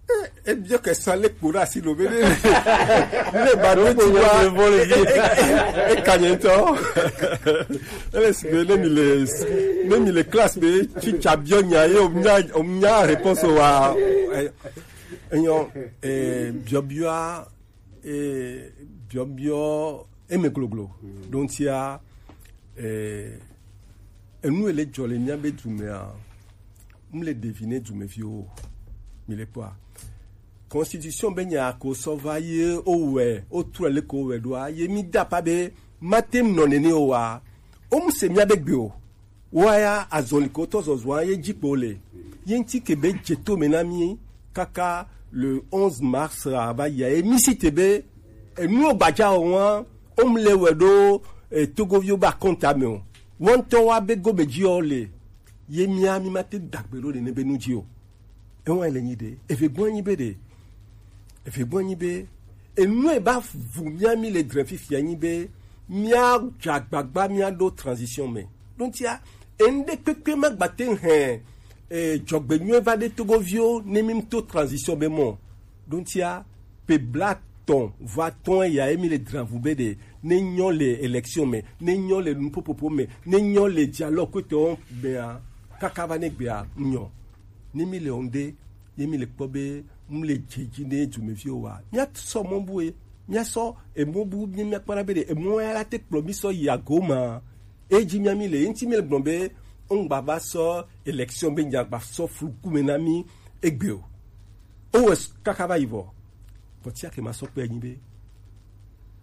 Eh, eh, bien que ça, les courants, si le veut, les bateaux, tu vois, et, et, et, et, et, et, quand il est temps. Ele si be ne mi le, ne mi le classe be, tsi tsa biɔ nya ye, o nya, o nya réponse wa. Eh, eh, nyɔ, eh, biɔ biɔ, eh, biɔ biɔ, eme gloglo. Donc, tia, eh, enu ele dzɔ le mia be dumea, m le deviner dumeviwo, mi le kpɔa. constitution be nya ko sɔ va ye o wɛ o trɔ le ko wɛ ɖoa ye mi da pa be ma te nɔ nene o wa o mu se mia be gbe o. Woaya azɔli ko tɔ zɔzɔa ye dzi kpo le ye ŋuti ke be dze to me na mi kaka le onze mars ava yia ye mi si te be enu o gbadza o wa o mu le wɛ ɖo e, togoviwo be akɔnta me o. Wɔntɔ wa be gome dzi o le ye mia mi ma te dagbe ɖo nene be nu dzi o. Ewa le nyi ɖe eve gbɔn nyi be ɖe eve gbɔn nyi be enu e ba vu mia mi le dre fifia nyi be mia dza gbagba mia ɖo transition me. Dontia enu ɖe kpekpe ma gba te hɛn e, dzɔgbenyuie va ɖe togoviwo ne mi to transition be mɔ. Dontia pe bla tɔn va tɔn ya emi le dravu be ɖe ne nyɔ le élection me ne nyɔ le nupopopo me ne nyɔ le dialogue kpetɔ mea kaka va ne gbea nyɔ. Ne mi le ŋde ye mi le kpɔ be mu le dze dzi ne dumeviwo wa mia sɔ mɔ bu ye mia sɔ emɔ bu mi mia kpɔna be ɖe emɔ ya la te kplɔ mi sɔ yi ago ma. Edzi mia mi le ye ŋuti mi le gblɔ be ŋgba va sɔ élection be nya gba sɔ fluku me na mi egbe o. O wɛ kaka va yi vɔ. Vɔ tia ke ma sɔ kpe nyi be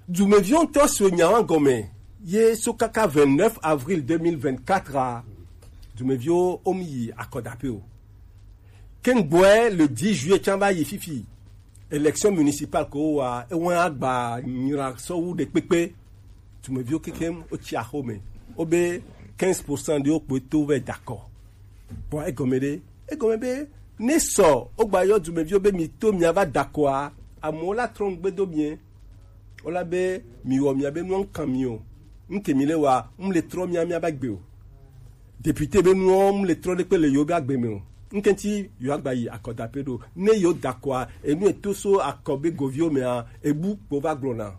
dumeviwo ŋutɔ so nya wa gɔme ye so kaka vingt-neuf avril deux mille vingt-quatre a dumeviwo o mi yi akɔdape o. Ke ŋgbɔɛ le dix juillet can va yi fifi élection municipale ko wa ewa agba nyra sɔ wu ɖe kpekpe. Dumeviwo kekem o tsi axo me o be quinze pour cent ɖewo kpoe to vɛ dakɔ. Bon egɔme ɖe egɔme be ne sɔ o gba yɔ dumeviwo be mi to mia va dakɔa amewo la trɔ ŋgbe do mie. Wola be mi wɔ mia be nuwo ŋkan mi o. Ŋke mi le wa ŋ le trɔ mia mia ba gbe o. Député be nuwo ŋ le trɔ ɖe kpe le yewo be agbe me o. Ŋke ŋti yewo agba yi akɔdape ɖo ne yewo dakɔa enu eto so akɔ be goviwo mea ebu kpo va gblɔna.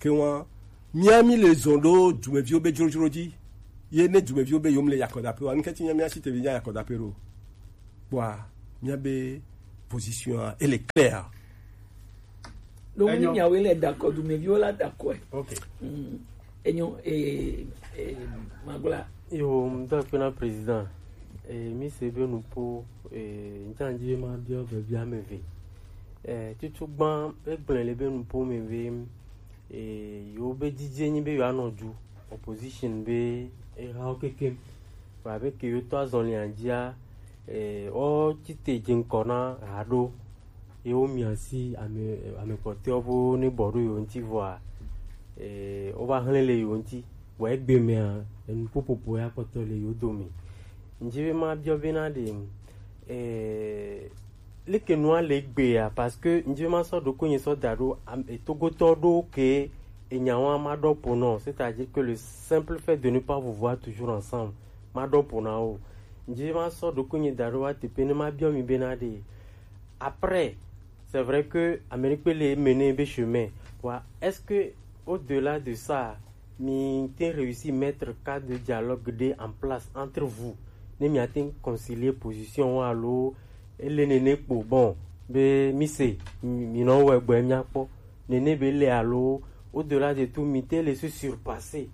Ke wa mia mi le zɔn ɖo dumeviwo be dzrodzro dzi. Ye ne dumeviwo be yewo le yi akɔdape wa ŋke ŋti mia mia si te vi nya yi akɔdape ɖo. Kpɔa mia be position a ele clair. Donc ni miawoe le dakɔ dumeviwo la dakɔe. Ok. Mm. Enyo e e magla. Yo ŋdɔ akpe na président. E mi se be nupo e ŋtsanji ma biɔ be bia me ve. E tutu gban e gblẽ le be nupo me ve. E yo be didie nyi be yo anɔ du opposition be e ha o kekem. Ba be ke yo to azɔlia dzia e o tite dze ŋkɔ na haɖo. Ye wo mia si ame ame kpɔtɔewo bo ne bɔ ɖo yewo ŋuti vɔa e wo va hlẽ le yewo ŋuti. Vɔ egbe mea enu ƒoƒoƒo ya kpɔtɔ le yewo dome. Ŋdzi be ma biɔ be na ɖe e leke nua le gbea parce que ŋdzi be ma sɔ ɖo ko nye sɔ da ɖo am- e togotɔ ɖo ke enya wa ma ɖɔ po nɔ c'est-à-dire que le simple fait de ne pas vous voir toujours ensemble ma ɖɔ po na wo. Ŋdzi be ma sɔ ɖo ko nye da ɖo wa teƒe ne ma biɔ mi be na ɖe Après, c'est vrai que Amérique peut les mener un chemin. Quoi. Est-ce que au-delà de ça, mi te réussi mettre cadre de dialogue de en place entre vous? Ne mi a te concilier position ou alors et les néné pour bon, be mi se mi non ouais boy mi akpo. Néné be le alors au-delà de tout mi te laisser surpasser.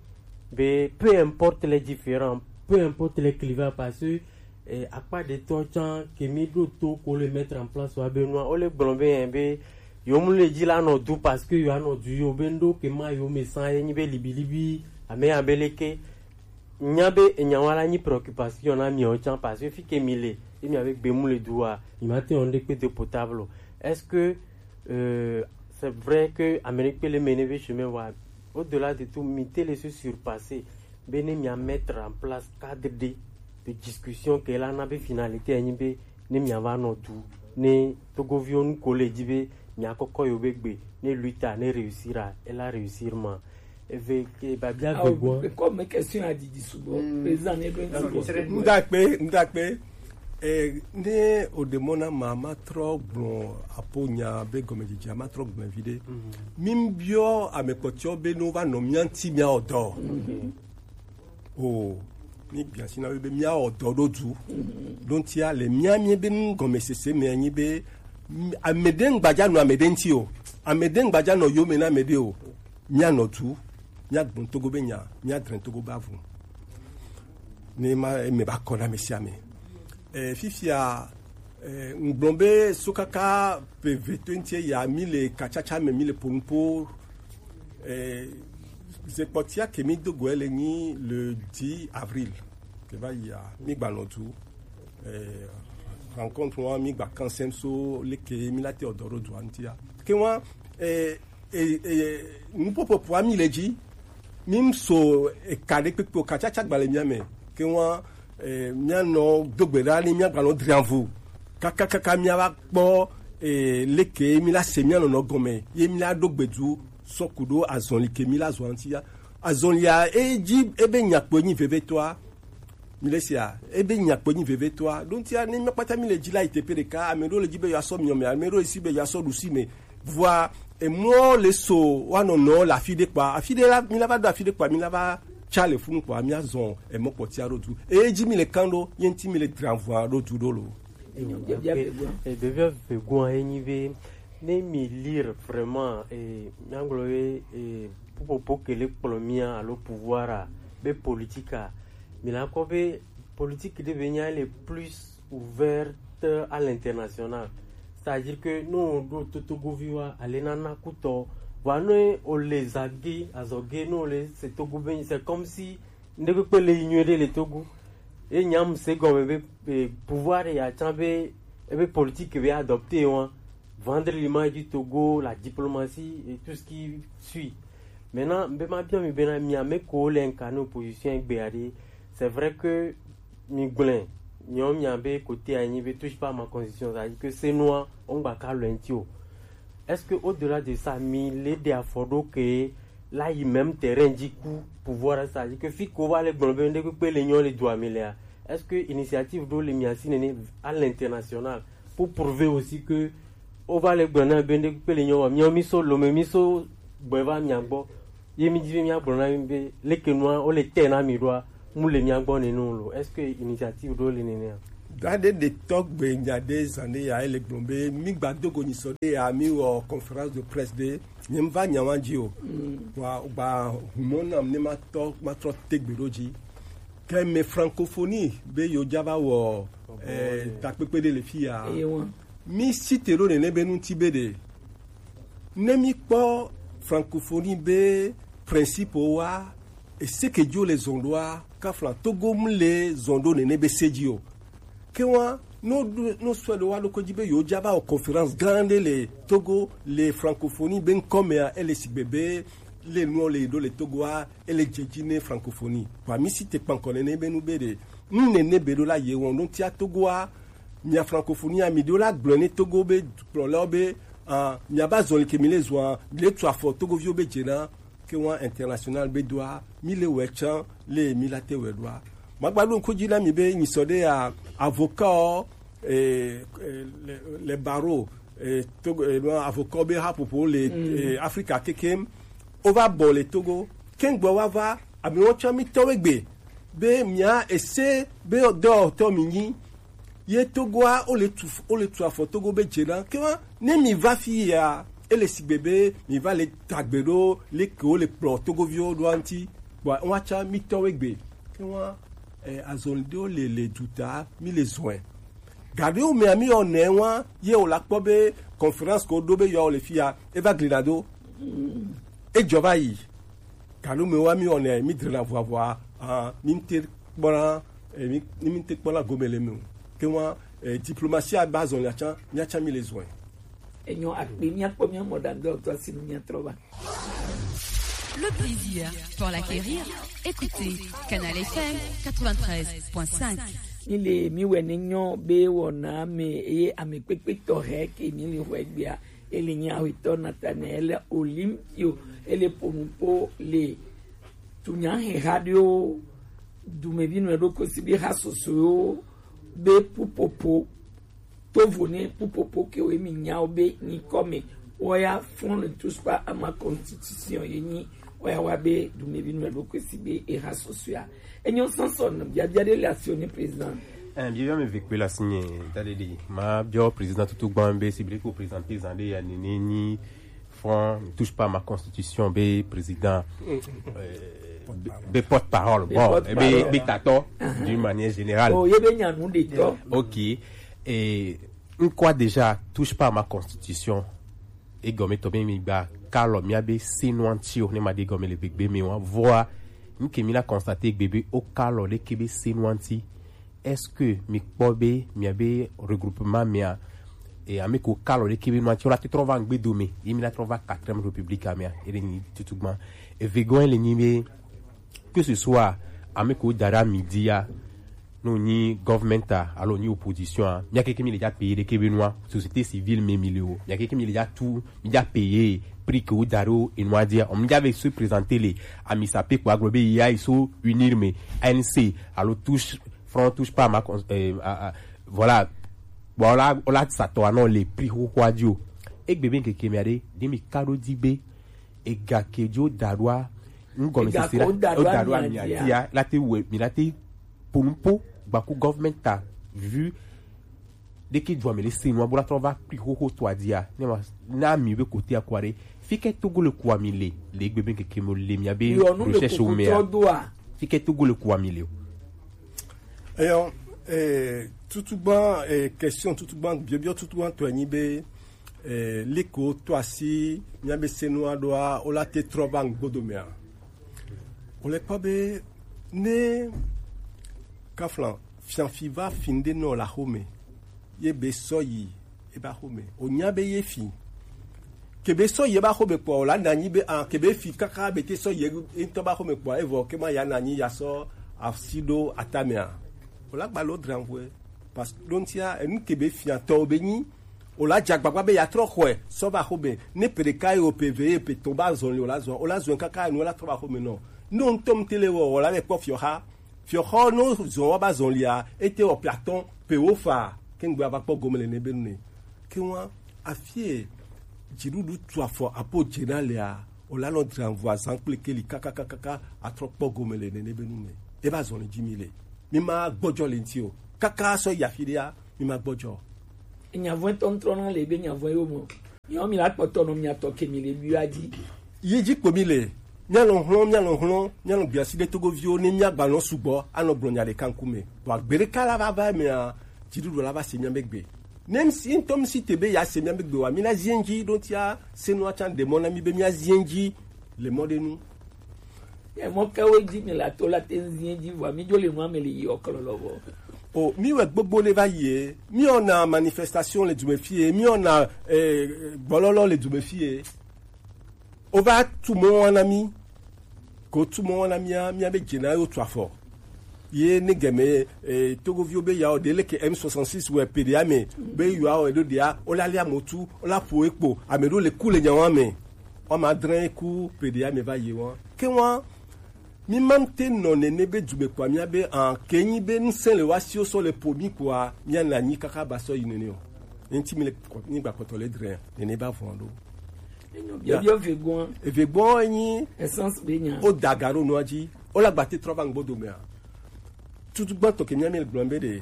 Be peu importe les différends, peu importe les clivages parce que eh, akpa ɖetɔ tsã ke mi ɖo to ko le mettre en place wa be nua wo le gblɔ be yɛn be yo mu le dzi la nɔ du parce que yo anɔ du yo be ŋɖo ke ma yo me san ye nyi be libilibi ame ya be leke nya be enya wa la nyi préoccupation na miawo tsã parce que fi ke mi le ye mia be gbe mu le du wa mi ma te wɔn ɖe kpe de potable. Est-ce que euh, c'est vrai que Amérique peut le mener vers chemin wa au-delà de tout mi te le se surpasser be ne mia mettre en place cadre de de discussion ke la na be finalité enyi be ne mia va nɔ du ne togoviwo nu ko le dzi be mia kɔkɔ yo be gbe ne luta ne réussira e la réussir ma eve ke babia vegoa. Comme question a didi sugbɔ président ne be sugbɔ. Ndakpe ndakpe. Eh, ne o demɔ na ma ma trɔ gblɔ apo nya be gɔmedzedzea ma trɔ gblɔ vi ɖe. Mi biɔ ame kpɔtɔ be no va nɔ mia ŋti mia ɔdɔ. O mi gbia si na be mia ɔdɔ ɖo du. Dontia le mia mi be nu gɔmesese me anyi be ame ɖe ŋgbadza nɔ ame ɖe ŋti o. Ame ɖe ŋgbadza nɔ yome na ame ɖe o. Míanɔ tu, míagbɔn Togo be nya, míadrɛn Togo be avu. Ne ma eme ba kɔ na ame sia ame. E, fifia Eh, ŋgblɔ be sukaka pe veto ŋuti ya mi le katsatsa me mi le ponupo. Eh, zekpɔtia ke mi do goe le nyi le dix avril ke va yia mi gba nɔ du. Eh, rencontre wa mi gba kansem so leke mi la te ɔdɔ ɖo dua ŋutia. Ke wa eh, eh, eh, nupopopoa mi le dzi. Mi ŋso eka ɖe kpekpe o, katsatsa gba le mia me. Ke wa eh, mia nɔ do gbe ɖa ni mia gba nɔ drianvu. Kakakaka mia va kpɔ eh, leke mi la se mia nɔnɔ gɔme ye mi la ɖo gbedu sɔ ku ɖo azɔli ke mi la zɔ ŋuti ya. Azɔlia e dzi ebe nyakpɔe nyi vevetɔa. Mi le sia ebe nyakpɔe nyi vevetɔa ɖo ŋutia ne mi kpata mi le dzi la yi teƒe ɖeka, ame ɖewo le dzi be yewoasɔ miɔ me, ame ɖewo le si be yewoasɔ ɖusi me. Vɔa emɔ le so woanɔ nɔ le afi ɖe kpɔa, afi ɖe la mi la va ɖo afi ɖe kpɔa mi la va tsa le funu kpɔa mi azɔ emɔ kpɔtia ɖo du eye dzi mi le kan ɖo ye ŋuti mi le dra vɔa ɖo du ɖo lo. Ɖevia vegoa ye nyi be ne mi lire vraiment eh, miagblɔ be eh, ƒuƒoƒo ke le kplɔ mia alo pouvoir be politique a, mi la kɔ be politique ɖe be nya le plus ouverte à l'international. C'est-à-dire que nous on doit totogoviwa aller nana kutɔ. Voilà, nous on les aguet azɔge nous on les c'est togo be c'est comme si ndekpekpe le yi nyuie ɖe le togo. Et nyam se gɔme be eh, pouvoir ya tsã be ebe politique be adopté wa vendre l'image du Togo, la diplomatie et tout ce qui suit. Maintenant be ma bien mi bena mi ame ko le incarner opposition egbe ade. C'est vrai que mi gblẽ nyɔ mia be côté anyi be touche pas ma constitution, c'est-à-dire que c'est noir on gba ka le ntio. Est-ce que au-delà de ça mi le de afɔɖo ke la yi même terrain dzi ku pouvoir, c'est-à-dire que fi ko va le gblɔ be ndekpekpe le nyɔ le dua mi lea, est-ce que initiative ɖo le mia si nene à l'international pour prouver aussi que o va le gblɔ na be ndekpekpe le nyɔ wa miɔ mi so lome mi so gbɔ va mia gbɔ ye mi dzi be mia gblɔ na mi be leke nua o le te na mi ɖoa mu le mia gbɔ nene o lo? Est-ce que initiative ɖo le nene a? Da ɖe ɖe tɔgbe nya ɖe zan ɖe ya ele gblɔ be mi gba dogo nyisɔ ɖe ya mi wɔ conférence de presse ɖe nye va nya wa dzi o. Wa gba humɔ nam ne ma tɔ ma trɔ tegbe ɖo dzi. Ke me francophonie be yo dza va wɔ eh, takpekpe ɖe le fi ya. Mi site ɖo nene be ŋuti be ɖe ne mi kpɔ francophonie be principe wa eseke dzo le zɔn ɖoa kafla togo mu le zɔn ɖo nene be se dzi o. Ke wa no no sɔ ɖe wa ɖo ko dzi be yo dza va wɔ conférence gã ɖe le togo le francophonie be ŋkɔ mea ele sigbe be le nuɔ le ɖo le togoa ele dze dzi ne francophonie. Wa mi site kpankɔ nene be nu be ɖe nu nene be ɖo la ye wɔn ɖo tia togoa mia francophonie mi ɖo la gblɔ ne togo be kplɔlawo be ah, mia ba zɔli ke mi le zɔa mi le tu afɔ togoviwo be dze na ke wa international be doa mi le wɛ tsan le mi la te wɛ doa. Magba ɖo ŋku dzi na mi be nyisɔ ɖe ya avocat eh, eh, le, le baro eh, togo eh, no, avocat be haƒoƒo le eh, afrika kekem o va bɔ le togo kengbe wa va amewo tsɔ mi tɔwe gbe be mia ese be dɔwɔtɔ mi nyi ye togoa o le tu o le tu afɔ togo be dze na ke wa ne mi va fi ya ele sigbe be mi va le tagbe ɖo le ke wo le kplɔ togoviwo ɖo anti bɔn wa tsɔ mi tɔwe gbe ke wa eh, azɔli ɖewo le le duta mi le zɔe. Gaɖewo mea mi yɔ nɛ wa ye wòle akpɔ be conférence ko ɖo be yɔ le fia eva gli na do. Edzɔ va yi. Gaɖewo me wa mi yɔ nɛ mi drena vuavua ah, mi te kpɔna eh, mi mi te kpɔna gome le me o. Ke wa eh, diplomatie aba zɔn ya tsa mia tsa mi le zɔn. Enyo akpe mia kpɔ mia mɔ ɖa ŋdɔ tɔ si nu mia trɔ va. Le plaisir pour l'acquérir. Écoutez Canal F M quatre-vingt-treize point cinq. Mi le mi wɛ ne nyɔ be wɔna ame eye ame kpekpe tɔ hɛ ke mi le xɔ egbea ele nyi awetɔ Nathanael Olympio ele ponupo le tunya he ha ɖewo dumevi nɔ ɖo kosi be ha sosowo be pupopo tovo ne pupopo ke wo emi nyawo be nyikɔ me woya fɔn le tuspa ama constitution ye nyi woya wa be dumevi nɔ ɖo kosi be eha sosoa enyo sanson biabia ɖe le asi ne président. Ɛn biabia mi ve kpe le asi nye da ɖe ɖe ma biɔ président tutu gbã be si bile ko président paysan ɖe ya nene nyi fɔn ne touche pas ma constitution be président euh, be porte parole bon be tatɔ d'une manière générale. Oh ye be nya nu de tɔ. Ok. Et Nkwa déjà touche pas à ma constitution. Egɔme tɔ be mi gba kalɔ mia be senu anti o ne ma de gɔme le gbegbe mi wa voa nke mi la constater gbebe o kalɔ de ke be senu anti. Est-ce que mi kpɔ be mia be regroupement mia e ame ko kalɔ de ke be nu anti o la te trɔ va ngbe do me ye mi la trɔ va quatrième république a mia e de ni tutugban e vegon le ni be que ce soit ame ko dara midi ya no ni government a alo ni opposition a mia keke mi le ja payer de ke be nu a société civile me mi le o mia keke mi le ja tu mi ja payer prix que o dara o enu a dia o mi ja ve se présenter le ami sa pe ko aglo be ya iso unir me A N C alo touche front touche pas ma con- euh, à- à- voilà voilà o la sa to ano le prix ho ho adio egbe be keke mi ade de mi kado di be ega ke jo darua ngome Ega sisi la ko darua o darua mi mi adia. Adia la te we mi la te ponpo gba ku government a vu de ke jo mi le senu abula to va prix ho ho to adia ne ma na mi be kote akware fike togo le kwa mi le le egbe be keke mo le mi abe Yo nu me recherche o kuku me a tɔ do a. Fike togo le kwa mi le o. Eyo, eh, tutugban eh, question tutugban biobio tutugban to anyi be eh, liko to asi mia be senu adoa o la te trɔ va ngbodo me a. O le kpɔ be ne kaflan fianfi va fi nde nɔ la xome ye be sɔ yi e ba xome o nya be ye fi kebe sɔ yi e ba xome kpɔ o la na nyi be an kebe fi kaka be te sɔ yi e ŋutɔ ba xome kpɔ evɔ ke ma ya na nyi ya sɔ asi ɖo atame a o la gba lo dranvue parce que ɖo ŋutia enu kebe fiatɔwo be nyi o la dze agbagba be yeatrɔ xɔe sɔ va xome ne ƒe ɖeka ye o ƒe eve ye ƒe etɔ̃ ba zɔli o la zɔ o la zɔe kaka enu la trɔ va xome nɔ ne o ŋutɔ ŋuti le wɔ o la le kpɔ fiɔxa fiɔxɔ ne o zɔ wa ba zɔlia ete wɔ ƒe atɔ̃ ƒe wo fa keŋgbe ava kpɔ gome le ne be nu ne ke wa afie dziɖuɖu tu afɔ apo dze na lea o la nɔ dra ŋu azan kple keli kakakakaka atrɔ kpɔ gome le nene be nu me e ba zɔli dzi mi le mi ma gbɔdzɔ le ŋuti o kaka sɔ yi afi ɖea mi ma gbɔdzɔ. Nyavɔe tɔntrɔ na le be nyavɔe yo mo. Nyɔ mi la kpɔtɔ nɔ mia tɔ ke mi le bia di. Yi dzi kpo mi le. Mia lɔ hlɔn mia lɔ hlɔn mia lɔ biasi ɖe togoviwo ne mia gba nɔ sugbɔ anɔ gblɔ nya ɖeka ŋkume. Vɔ agbere ka la va va mea dziɖuɖu la va se mia megbe. Ne mi si ŋutɔ mi si te be ya se mia megbe wa mi na zie ŋdzi ɖo tia se nua tsa ɖe mɔ na mi be mia zie ŋdzi le mɔ ɖe nu. Emɔ ke wo dzi mi la to la te zie dzi vɔ mi dzo le nua me le yi ɔkɔlɔ lɔ vɔ. O mi wɛ gbogbo ne va yi e mi ɔna manifestation le dume fie mi ɔna eh, gbɔlɔlɔ le dume fie o va tu mɔ wa na mi ko tu mɔ wa na mia mia be dze na yo tu afɔ ye ne gɛmɛ eh, togoviwo be yawo ɖe leke M soixante-six wɛ peɖe ame be yawo ɖo ɖea o la lia motu o la ƒo ekpo ame ɖo le ku le nyawa me ɔma dre ku peɖe ame va yi wa ke wa mi ma te nɔ nene be dume kpɔ mia be an ke nyi be ŋsẽ le wa si o sɔ le ƒo mi kpɔa mia na nyi kaka ba sɔ yi nene o ŋti mi le kɔ- mi gba kɔtɔ le dre nene ba vɔn ɖo. Enyo biɔ biɔ vegoa. Eve gbɔ enyi Essence be nya. O daga ɖo nua dzi o la gba te trɔ va ŋgbo dome a tutu gbãtɔ ke mia mi le gblɔm be ɖe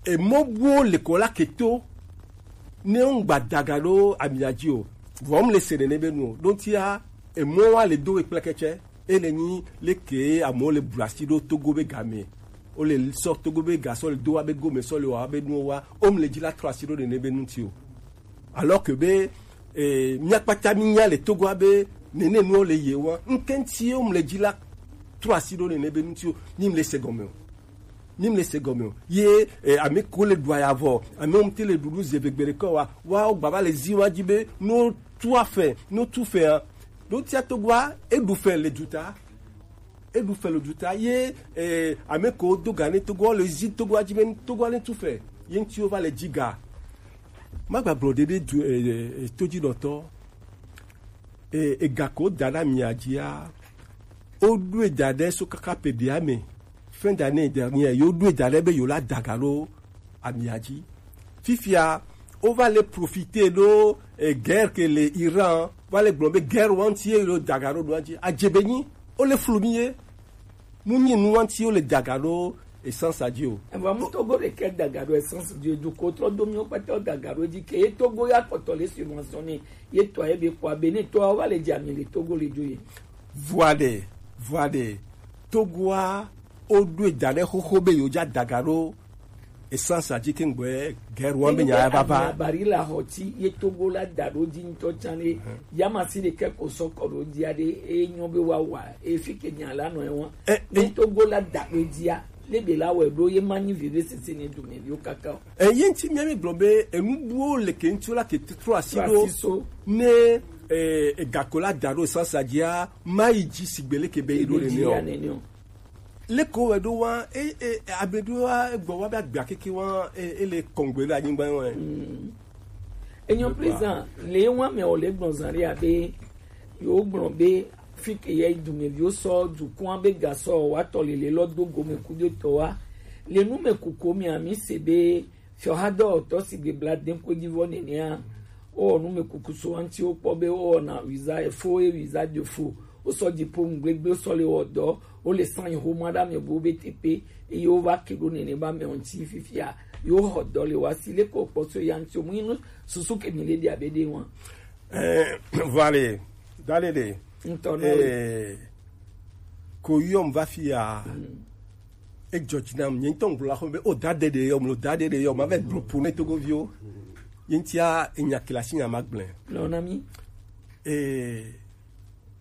emɔ buwo le kɔ la keto ne ŋgba daga ɖo amia dzi o vɔ mu le se nene be nu o ɖo tia emɔ wa le do ekplekɛtsɛ ele nyi leke amewo le blu asi ɖo togo be game o le sɔ togo be ga sɔ le do wa be gome sɔ le wa be nuwo wa o mu le dzi la trɔ asi ɖo nene be nu ti o alors que be eh, mia kpata mi nya le togo wa be nene nuwo le ye wa ŋkɛnti o mu le dzi la trɔ asi ɖo nene be nu ti o mi mu le se gɔme o mi mu le se gɔme o ye eh, ame ko le ɖu ayavɔ ame wo mu te le ɖuɖu zeve gbe ɖe kɔ wa wa wo gbava le zi wa dzi be no tu afɛ no tu fɛ a ɖo tia togoa eɖu fɛ le duta eɖu fɛ le duta ye eh, ame ko do ga ne togoa le zi togoa dzi be togoa ne tu fɛ ye ŋti wo va le dzi ga ma gba gblɔ ɖe ɖe du eh, eh, todzinɔtɔ eh, ega ko da ɖe amia dzia woɖoe da ɖe so kaka ƒe ɖia me fin d'année dernière yo ɖoe da ɖe be yo la daga ɖo amia dzi fifia wova le profite ɖo eh, guerre ke le Iran va le gblɔ be guerre wanti ye yo daga ɖo ɖoa dzi adze be nyi wo le flu mi ye mu nyi nu wanti wo le daga ɖo essence a dzi o. Evɔ mu togo ɖeke daga ɖo essence dzi o dukɔ trɔ do miwo kpata daga ɖo dzi ke ye togo ya kpɔtɔ le subventionné ye tɔ ye be kɔ abe ne tɔ wa le dzi ami le togo le dzo ye. Vua ɖe vua ɖe togoa woɖoe da ɖe xoxo be yewo dza daga ɖo Essence a dzi ke ŋgbɔɛ guerre wan be nya ya vava. Bari la hoti ye Togo la da ɖo dzi ŋutɔ tsan ɖe. Yamasi ɖe ke ko sɔ kɔ ɖo dzi aɖe e nyɔ be wa wa efi ke nya la nɔ ewa. Ne Togo la da ɖo dzia le be la wɛ ɖo ye ma nyi vivi sese ne dume viwo kaka o. Eyi ŋuti mía mi gblɔ be enu buwo le ke ŋuti la ke trɔ asi ɖo ne egako la da ɖo essence a dzia ma yi dzi sigbe le ke be yi ɖo nene o. Leko wɛ ɖo wa e e abe ɖo wa egbɔ wa be agbea keke wa e e le kɔngbe ɖe anyigba wa. Enyo président le wa me o le gbɔn zan ɖe abe yo gbɔn be fi ke ye dumeviwo sɔ dukɔn be gasɔ wa tɔ lele lɔ do gome ku de tɔ wa le nu me kuku mi ami se be fiɔ ha dɔ tɔ si gbe bla den ko dzi vɔ nenea o nu me kuku so anti o kpɔ be o na visa e fo e visa de fo o sɔ dzi po ŋgbegbe o sɔ le wɔ dɔ o le san yi xoma ɖe ame buwo be teƒe eye wova ke ɖo nene be amewo ŋuti fifia yewo xɔ dɔ le woasi leke wokpɔ so ya ŋuti o mu yi nu susu ke mi le ɖi abe ɖe wa. Eh, vale, dale de. Ŋutɔ nɔ. Eh, ko yɔm va fi ya. Edzɔ dzi nam nye ŋutɔ ŋgblɔ la xɔ be o da de de yɔm lo da de de yɔm ave gblɔ po ne togoviwo. Ye ŋutia enya kilasi nya ma gblẽ. Lɔ na mi. Eh,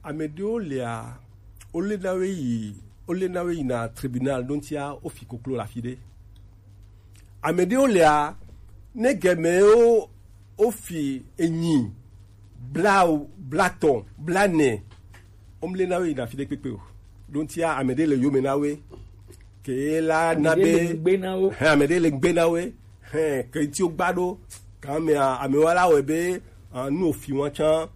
ame ɖewo lia, wole na wo yi, wole na wo yina tribunal ɖo ŋutia wofi koklo le afi ɖe. Ame ɖewo lia, ne gemewo wofi enyi, bla blatɔ, blanɛ, womle na wo yina afi ɖe kpekpe o. Ɖo ŋutia ame ɖe le yome na wo. Ke la na be hɛn ame ɖe le gbe na wo. Hɛn ke ŋuti wogba ɖo. Ke amea amewo la wɔe be ah, nu wofi wa tsã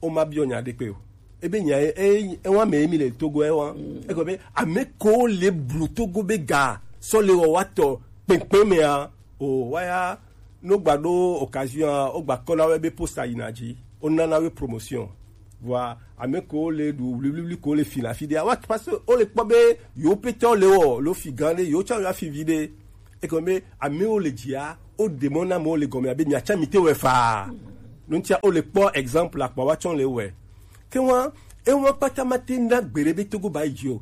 woma biɔ nya ɖekpe o. Ebe nya e e ewa me mi le Togo ewa. Eko be ame ko le blu Togo be ga sɔ le wɔ wa tɔ kpekpe mea o waya no gba ɖo occasion a o gba kɔ na we be posta yina dzi o nana we promotion. Vɔa ame ko le ɖu wliwliwli ko le fi la fi ɖea wa parce que o le kpɔ be yewo petɔ le wɔ lo fi gã ɖe yewo tsã yewo afi vi ɖe. Egɔme be amewo le dzia, wo ɖe mɔ na amewo le gɔme abe miatsa mi te wɛ faa. Nuntia wo le kpɔ exemple akpa wa tsɔ le wɛ. Ke wa, ewa kpata ma te na gbeɖe be Togo ba yi dzi o.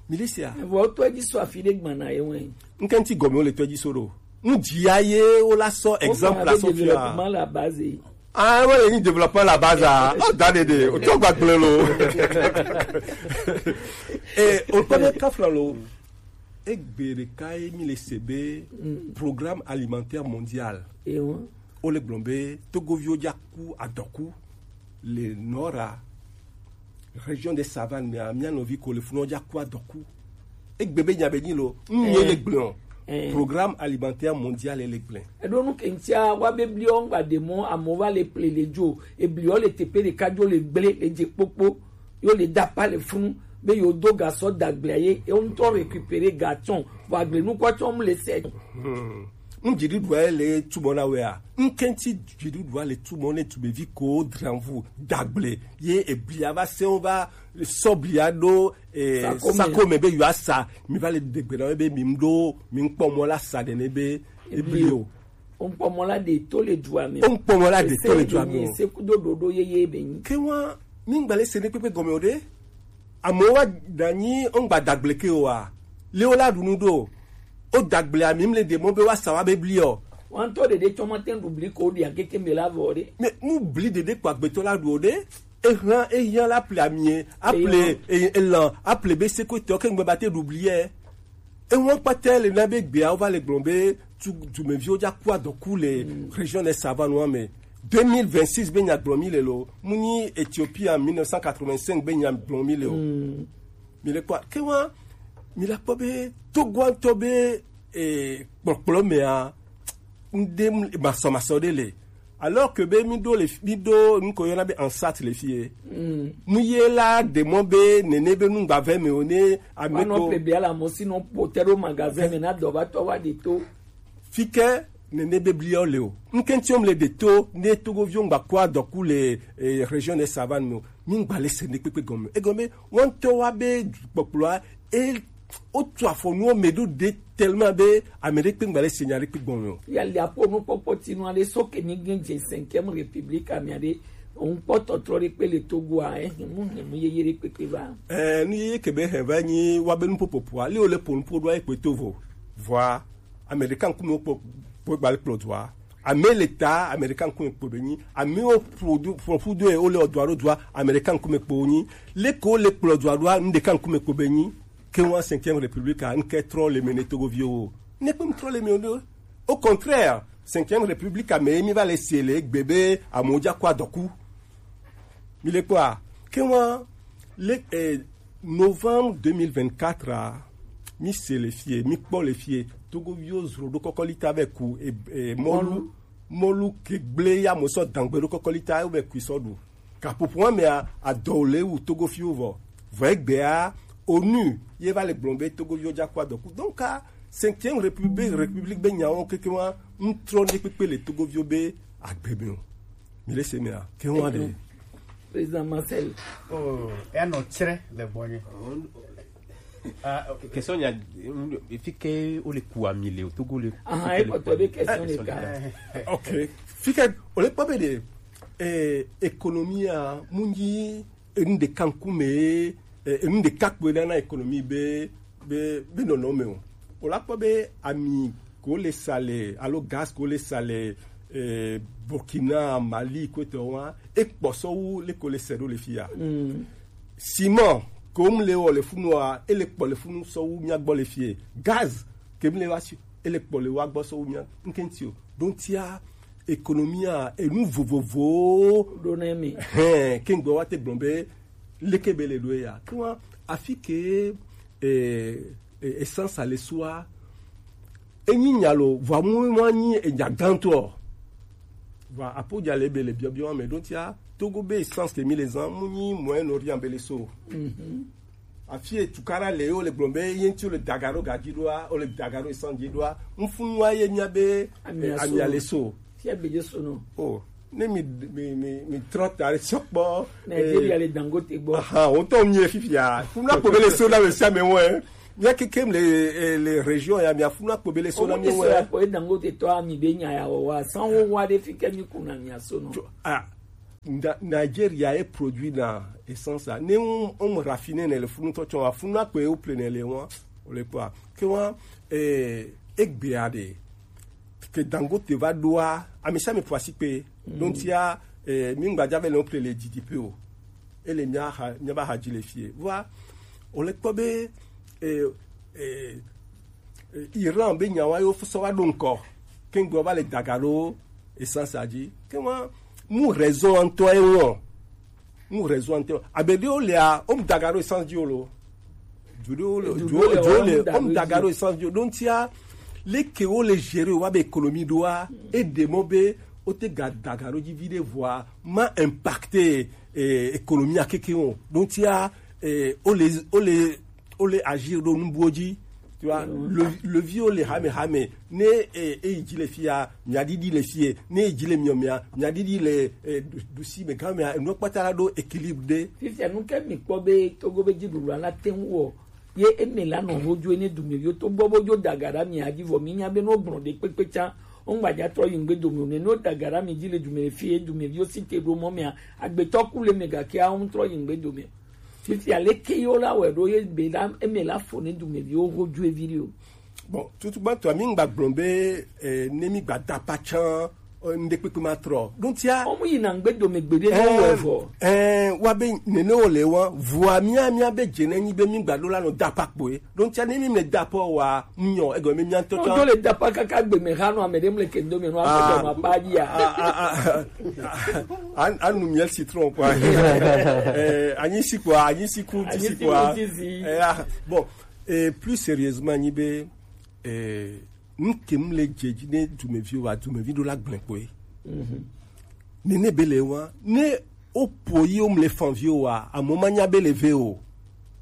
Mi le sia. Vɔ to edzi so afi ɖe gbana ye wɛ. Nke ŋuti gɔme wo le to edzi so ɖo. Nu dzia ye wo la sɔ exemple la sɔ fia. Développement la base. Ah, wo le ni développement la base ah. Oh, da de de. O to gba gble lo. Eh, o to be kafla lo. Egbe ɖeka ye mi le se be programme alimentaire mondial. Ewa. Wo le gblɔ be Togoviwo dza ku adɔku le Nora, région des Savanes mea, mia nɔvi ko le funɔ dza ku adɔku. Egbe be nya be nyi lo, nu ye le gblɔ. Programme alimentaire mondial le gblɔ. Eɖo nu ke ŋutia wa be bliɔ ŋgba ɖe mɔ amewo va le ple le dzo, ebliɔ le teƒe ɖeka dzo le gble le dze kpokpo. Yo le da pa le funu be yo do gasɔ dagblea ye ye ŋutɔ récupérer ga tsɔn vɔ agble nukua tsɔn mu le se. Ŋdziɖuɖua ye le tumɔ na wea ŋkɛnti dziɖuɖua le tumɔ ne tumevi ko dranvu dagble ye eblia va se wo va sɔblia ɖo eh, sako me be yo asa mi va le degbe na wo be mi ŋɖo mi ŋkpɔ mɔ la sa ɖe ne be ebli o. Onkpɔmɔ la ɖe to le dua me. Onkpɔmɔ la ɖe to le dua me. Ese kudo ɖoɖo yeye be nyi. Ke wa mi ŋgba le se ne kpekpe gɔme o ɖe. Amewo wa da nyi ŋgba dagble ke o wa. Le wo la ɖu nu ɖo. O dagble ami mle de mɔ be wa sa wa be bli o. Wa ŋutɔ ɖeɖe tsɔ ma te ɖu bli ko ɖi ageke me la vɔ ɖe. Me nu bli ɖeɖe ko agbetɔ la ɖu o ɖe. Ehan eyan la ple amie, aple elan, aple be sekotɔ ke ŋgbe ba te ɖu bli ye. Ewan kpata le na be gbea wo va le gblɔ be tu dumeviwo dza ku adɔku le région de Savane wa me. Deux mille vingt-six be nya gblɔ mi le lo, mu nyi Ethiopie en mille neuf cent quatre-vingt-cinq be nya gblɔ mi le o. Mi le kpɔ ke wa mi la kpɔ be Togoantɔ be eh, kpɔkplɔ mea ŋde masɔmasɔ ɖe le. Alors que be mi ɖo le mi ɖo nuko yɔna be ansat le fie. Nu ye la ɖe mɔ be nene be nu gbavɛ me o ne ame ko. Ple bia la mo si no pote ɖo magazin me na dɔ va tɔ wa ɖe to. Fi ke nene be bliɔ le o. Ŋkɛntiɔ le ɖe to ne togoviwo ŋgba kɔ adɔku le eh, région de Savane me o. Mi ŋgba le se ne kpekpe gɔme. Egɔme wɔntɔ wa be kpɔkplɔa e wotu afɔ nuwo me ɖo ɖe tellement be ame ɖe kpe ŋgba le se nya ɖe kpe gbɔn me o. Ya le aƒo nu kpɔkpɔ ti nu ale so ke mi gen dze cinquième république amia ɖe òun kpɔ tɔtrɔ ɖe kpe le Togo a ehin mu hin mu yeye ɖe kpekpe va. Ɛɛ nu yeye ke be hɛn va nyi wa be nuƒoƒoƒoa li wo le ƒo nuƒo ɖo ayi kpe to vo vɔa Amerika ŋkume kpo kpo gbali kplɔ dua. Ame le ta Amerika ŋkume kpo be nyi. Ame wo produ profudo e wo le odua ɖo dua Amerika ŋkume kpo nyi. Leke wo le kplɔ dua ɖoa ŋɖeka ŋkume kpo be nyi. Ke wa cinquième république a ŋke trɔ le me ne Togoviwo. Ne kpe trɔ le me o. Au contraire, cinquième république a me mi va le se le gbe be amoja kwa doku. Mi le kpɔa, ke wa le eh, novembre deux mille vingt-quatre a, mi se le fie, mi kpɔ le fie, Togoviwo zro ɖo kɔkɔlita be ku e, e, mɔlu, mɔlu ke gble ya mo sɔ dangbe ɖo kɔkɔlita be ku sɔ ɖu. Kapopo wa mea adɔ le wu Togoviwo vɔ. Vɔ egbea, onu ye va le gblɔ be Togoviwo ja kua dɔku. Donc a cinquième république, république be nyawo keke wa ŋtrɔ ne kpekpe le Togoviwo be agbe me o. Mi le se mea, ke wa de. Président Marcel. Oh, ya no chre le bonye. Ah, ok. Question ya, efi ke o le ku ami le o Togo le. Ah, e ko to be question le ka. Ok. Fi ke o le pa be de eh économie a munji enu ɖeka ŋkume, eh, enu ɖeka kpoe na na économie be be be nɔnɔ me o. O la kpɔ be ami ko le sa le alo gaz ko le sa le eh, Burkina, Mali, ko to wa e kpɔ sɔ wu le ko le se ɖo le fia. Mm. Ciment ko mu le wɔ le funu a e le kpɔ le funu sɔ wu mia gbɔ le fie. Gaz ke mu le wa si e le kpɔ le wa gbɔ sɔ wu mia ŋkenti o. Donc tia économie a enu vovovo ɖo ne mi. Hɛn, ke ŋgbɔ wa te gblɔ be leke be le ɖo ya. Kuma afi ke eh, eh, essence a le sua. Enyi nya lo, vɔ mu mu anyi enya gãtɔ. Vɔ apo dza le be le biɔbiɔ me ɖo tia Togo be essence ke mi le zan mu nyi moyen orient be le so. Mhm. Afi e tukara le o le gblɔ be ye ŋti o le daga ɖo gaji ɖoa, o le daga ɖo essence ji ɖoa. Ŋfunu wa ye mia be ami a so. Fia be je so no. Oh, ne mi mi mi mi trɔ ta le sɔkpɔ. Nigeria le Dangote gbɔ. Aha, o tɔ mi fifia. Funu akpo be le so na me sia me wɛ. Mia keke le eh, le région ya mia funu akpo be le so na mi wɛ. Ko Dangote tɔ ami be nya ya wa. San wo wa de fi ke mi kuna mi a so no. Ah, Nigeria e produit na essence a. Ne on on raffiner ne le funu tɔ tɔ wa funu akpo e o plein ne le wa. O le pa. Ke wa eh egbe a de ke Dangote va ɖoa, ami sia mi ƒo asi kpe. Donc tia eh, mi ŋgba dza ve le wo ple le G D P o. Ele mia ha mia ba ha dzi le fie. Vɔa o le kpɔ be eh, eh, eh, Iran be nyawa yo sɔ va ɖo ŋkɔ. Ke ŋgbe va le daga ɖo essence a dzi. Ke wa mu raison ŋutɔ e wɔn. Mu raison ante. Abe ɖewo lea, wo mu daga ɖo essence dzi o lo. Du ɖewo le, du ɖewo le, wo mu daga ɖo essence dzi o. Donc tia, leke wo le gérer wa be économie ɖoa, e ɖe mɔ be wo te ga daga ɖo dzi vi ɖe vɔa ma impacter eh, économie a keke o. Donc tia, eh, wo le wo le wo le agir ɖo nubuwo dzi. Tu vois, le, le vieux le hame hame ne eh, eyi dzi le fia mia didi le fie ne eyi dzi le miɔ mia mia didi le eh, du- dusi me gã mea enua kpata la ɖo équilibre ɖe. Fifia nu ke mi kpɔ be Togo be dziɖuɖu la te ŋu wɔ ye eme la nɔ ho dzo ne dumeviwo to gbɔ bo dzo daga ɖe mia dzi vɔ mi nya be no gblɔ ɖe kpekpe tsa o ŋgba dza trɔ yi ŋgbe dome o ne no daga ɖe mi dzi le dume le fie dumeviwo si te ɖo mɔ mea agbetɔ ku le me gake awo ŋtrɔ yi ŋgbe dome. Fifia leke yewo la wɔe ɖo ye be la eme la fo ne dumeviwo ho dzo evi ɖi o. Bon, tutu gbãtɔa mi ŋgba gblɔ be eh, ne mi gba da pa tsã eh, ŋɖe kpekpe ma trɔ. Ɖo tia. Ɔmu yi na ŋgbe dome gbe ɖe ne wɔ vɔ. Eh, wa be nene wo le wa vua mia mia be dze ne nyi be mi gba ɖo la nɔ da pa kpoe. Ɖo tia ne mi me da pa wa nyɔ egɔ mi mia ŋtɔ tsã. Ŋdo le da pa kaka gbe me ha nɔ ame ɖe mle ke ŋdo me nɔ ame ɖe ma pa dzi ya. An anu miel citron quoi. Eh, anyi si quoi, anyi si ku ti si quoi. Eh, ah, bon, eh, plus sérieusement nyi be eh, nu ke mu le dze dzi ne dumeviwo wa dumevi ɖo la gblẽ kpoe. Nene be le wa ne o po yi o mu le fan viwo wa amo ma nya be le ve o.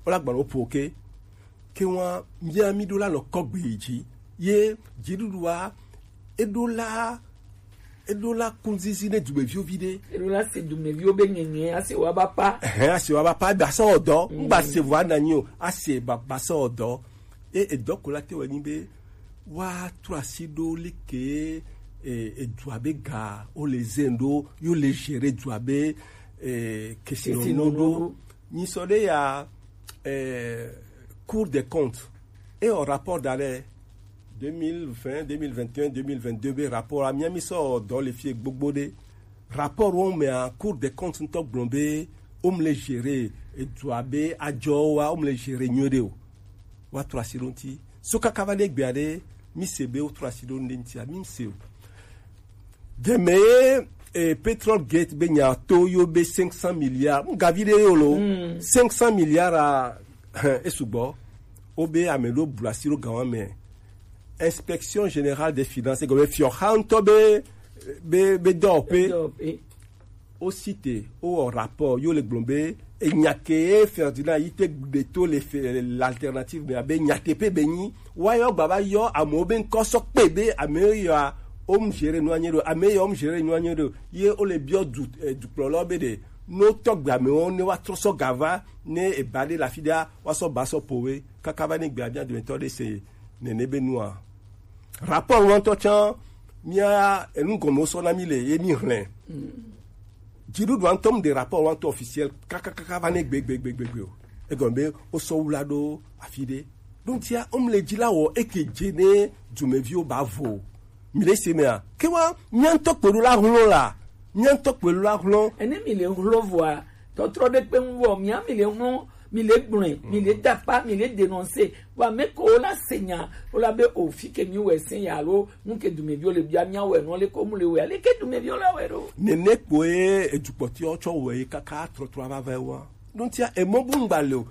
O la gbalẽ o po ke ke wa mia mi ɖo la nɔ kɔgbe yi dzi ye dziɖuɖua eɖo la eɖo la kunzizi ne dumeviwo vi ɖe. Eɖo la se dumeviwo be nyenye ase wa ba pa. Ɛhɛn, ase wa ba pa ebe asa ɔdɔ ŋgba se vɔ ananyi o ase ba ba sa ɔdɔ. E edɔ ko la te wɔ nyi be wa trɔ asi ɖo leke e edua be ga o le zen ɖo yo le gérer dua be e kesinɔnɔ ɖo. Nyi sɔ ɖe ya eh, Cour des comptes e o rapport da ɖe Deux mille vingt, deux mille vingt et un, deux mille vingt-deux be rapport a mia mi sɔ dɔ le fie gbogbo ɖe. Rapport wo mea, Cour des comptes ŋutɔ gblɔ be wo mle gérer edua be adzɔwa, wo mle gérer nyuie ɖe o. Wa trɔ asi ɖo ŋuti. So kaka va ɖe gbea ɖe, mi se be wo trɔ asi ɖo ŋɖe ŋutia, mi se o. Deme ye eh, Petrol Gate be nya to yo be cinq cents milliards. Ngavi ɖe yo lo. Cinq cents milliards a esugbɔ. Wo be ame ɖo bla si ɖo gawa me. Inspection Générale des Finances, gɔme fiɔ xa ŋutɔ be be be dɔwɔƒe. Dɔwɔƒe. Wo cite, wo wɔ rapport, yo le gblɔ be enya ke ye Ferdinand yi te ɖe to le fe- l'alternative me abe nyateƒe be nyi. Wa yɔ gba va yɔ amewo be ŋkɔ sɔ kpe be ame yɔ a wo mu gérer nua nye ɖo, ame yɔ wo mu gérer nua nye ɖo. Ye wo le biɔ du eh, dukplɔlawo be ɖe no tɔgbe amewo ne wa trɔ sɔ gava ne eba ɖe le afi ɖea wa sɔ ba sɔ po we kaka va ne gbea bia dometɔ ɖe se nene be nua. Rapport ŋutɔ tsã mia enu gɔme sɔ na mi le ye mi hlẽ. Dziɖuɖua ŋutɔ mu ɖe rapport wa ŋutɔ officiel kakakaka va ne gbegbegbegbe o. Egɔme be wosɔ wula ɖo afi ɖe. Ɖo ŋutia womle dzi la wɔ eke dze ne dumeviwo ba vo. Mi le se mea? Ke wa mia ŋutɔ kpe ɖo la hlɔ̃ la. Mia ŋutɔ kpe ɖo la hlɔ̃. Ene mi le hlɔ̃ voa tɔtrɔ ɖe kpe ŋu vɔ mia mi le hlɔ̃ mi le gblɔe mi le dakpa mi le denonse. Wa me ko wo la se nya wo la be o fi ke mi wɛ se ya lo nu ke dumeviwo le bia mia wɛ nɔ le ko mu le wɛ ale ke dumeviwo la wɛ ɖo. Nene kpoe edukpɔtiwo tsɔ wɔ ye kaka trɔtrɔ ava va wa. Ɖo ŋutia emɔ bu ŋgba le o.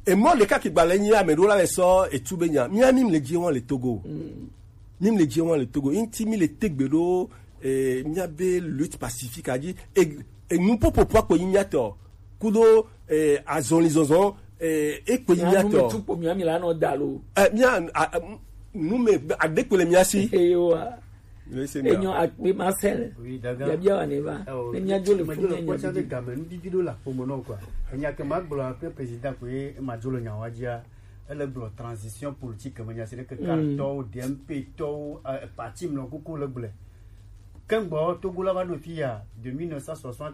Emɔ ɖeka ke gba le nyi ame ɖewo la le sɔ etu be nya mia mi le dzi wɔn le Togo. Mi le dzi wɔn le Togo ŋuti mi le tegbe ɖo eh, mia be lutte pacifique a dzi e- enu popopo akpo nyi mia tɔ kudo eh, azɔli zɔzɔ eh, ekpo nyi mia tɔ. Tukpo mia mi la nɔ da lo. Eh, mia a- a- m- nu me adekpo le mia si. Eyo wa. Enyo akpe Marcel. Oui, daga. Biabia wa ne va. Ne mia jo le fu ne nyo kpɔtsa de game nu didi do la pomo no kwa. Enya ke ma gblɔ akpe président ko ye ma jo le nya wa dia. Ele gblɔ transition politique me nya se ne ke kartɔwo D M P tɔwo eh, parti mlɔ kuku le gblɔ. Kengbo Togo la va do fi ya de mille neuf cent soixante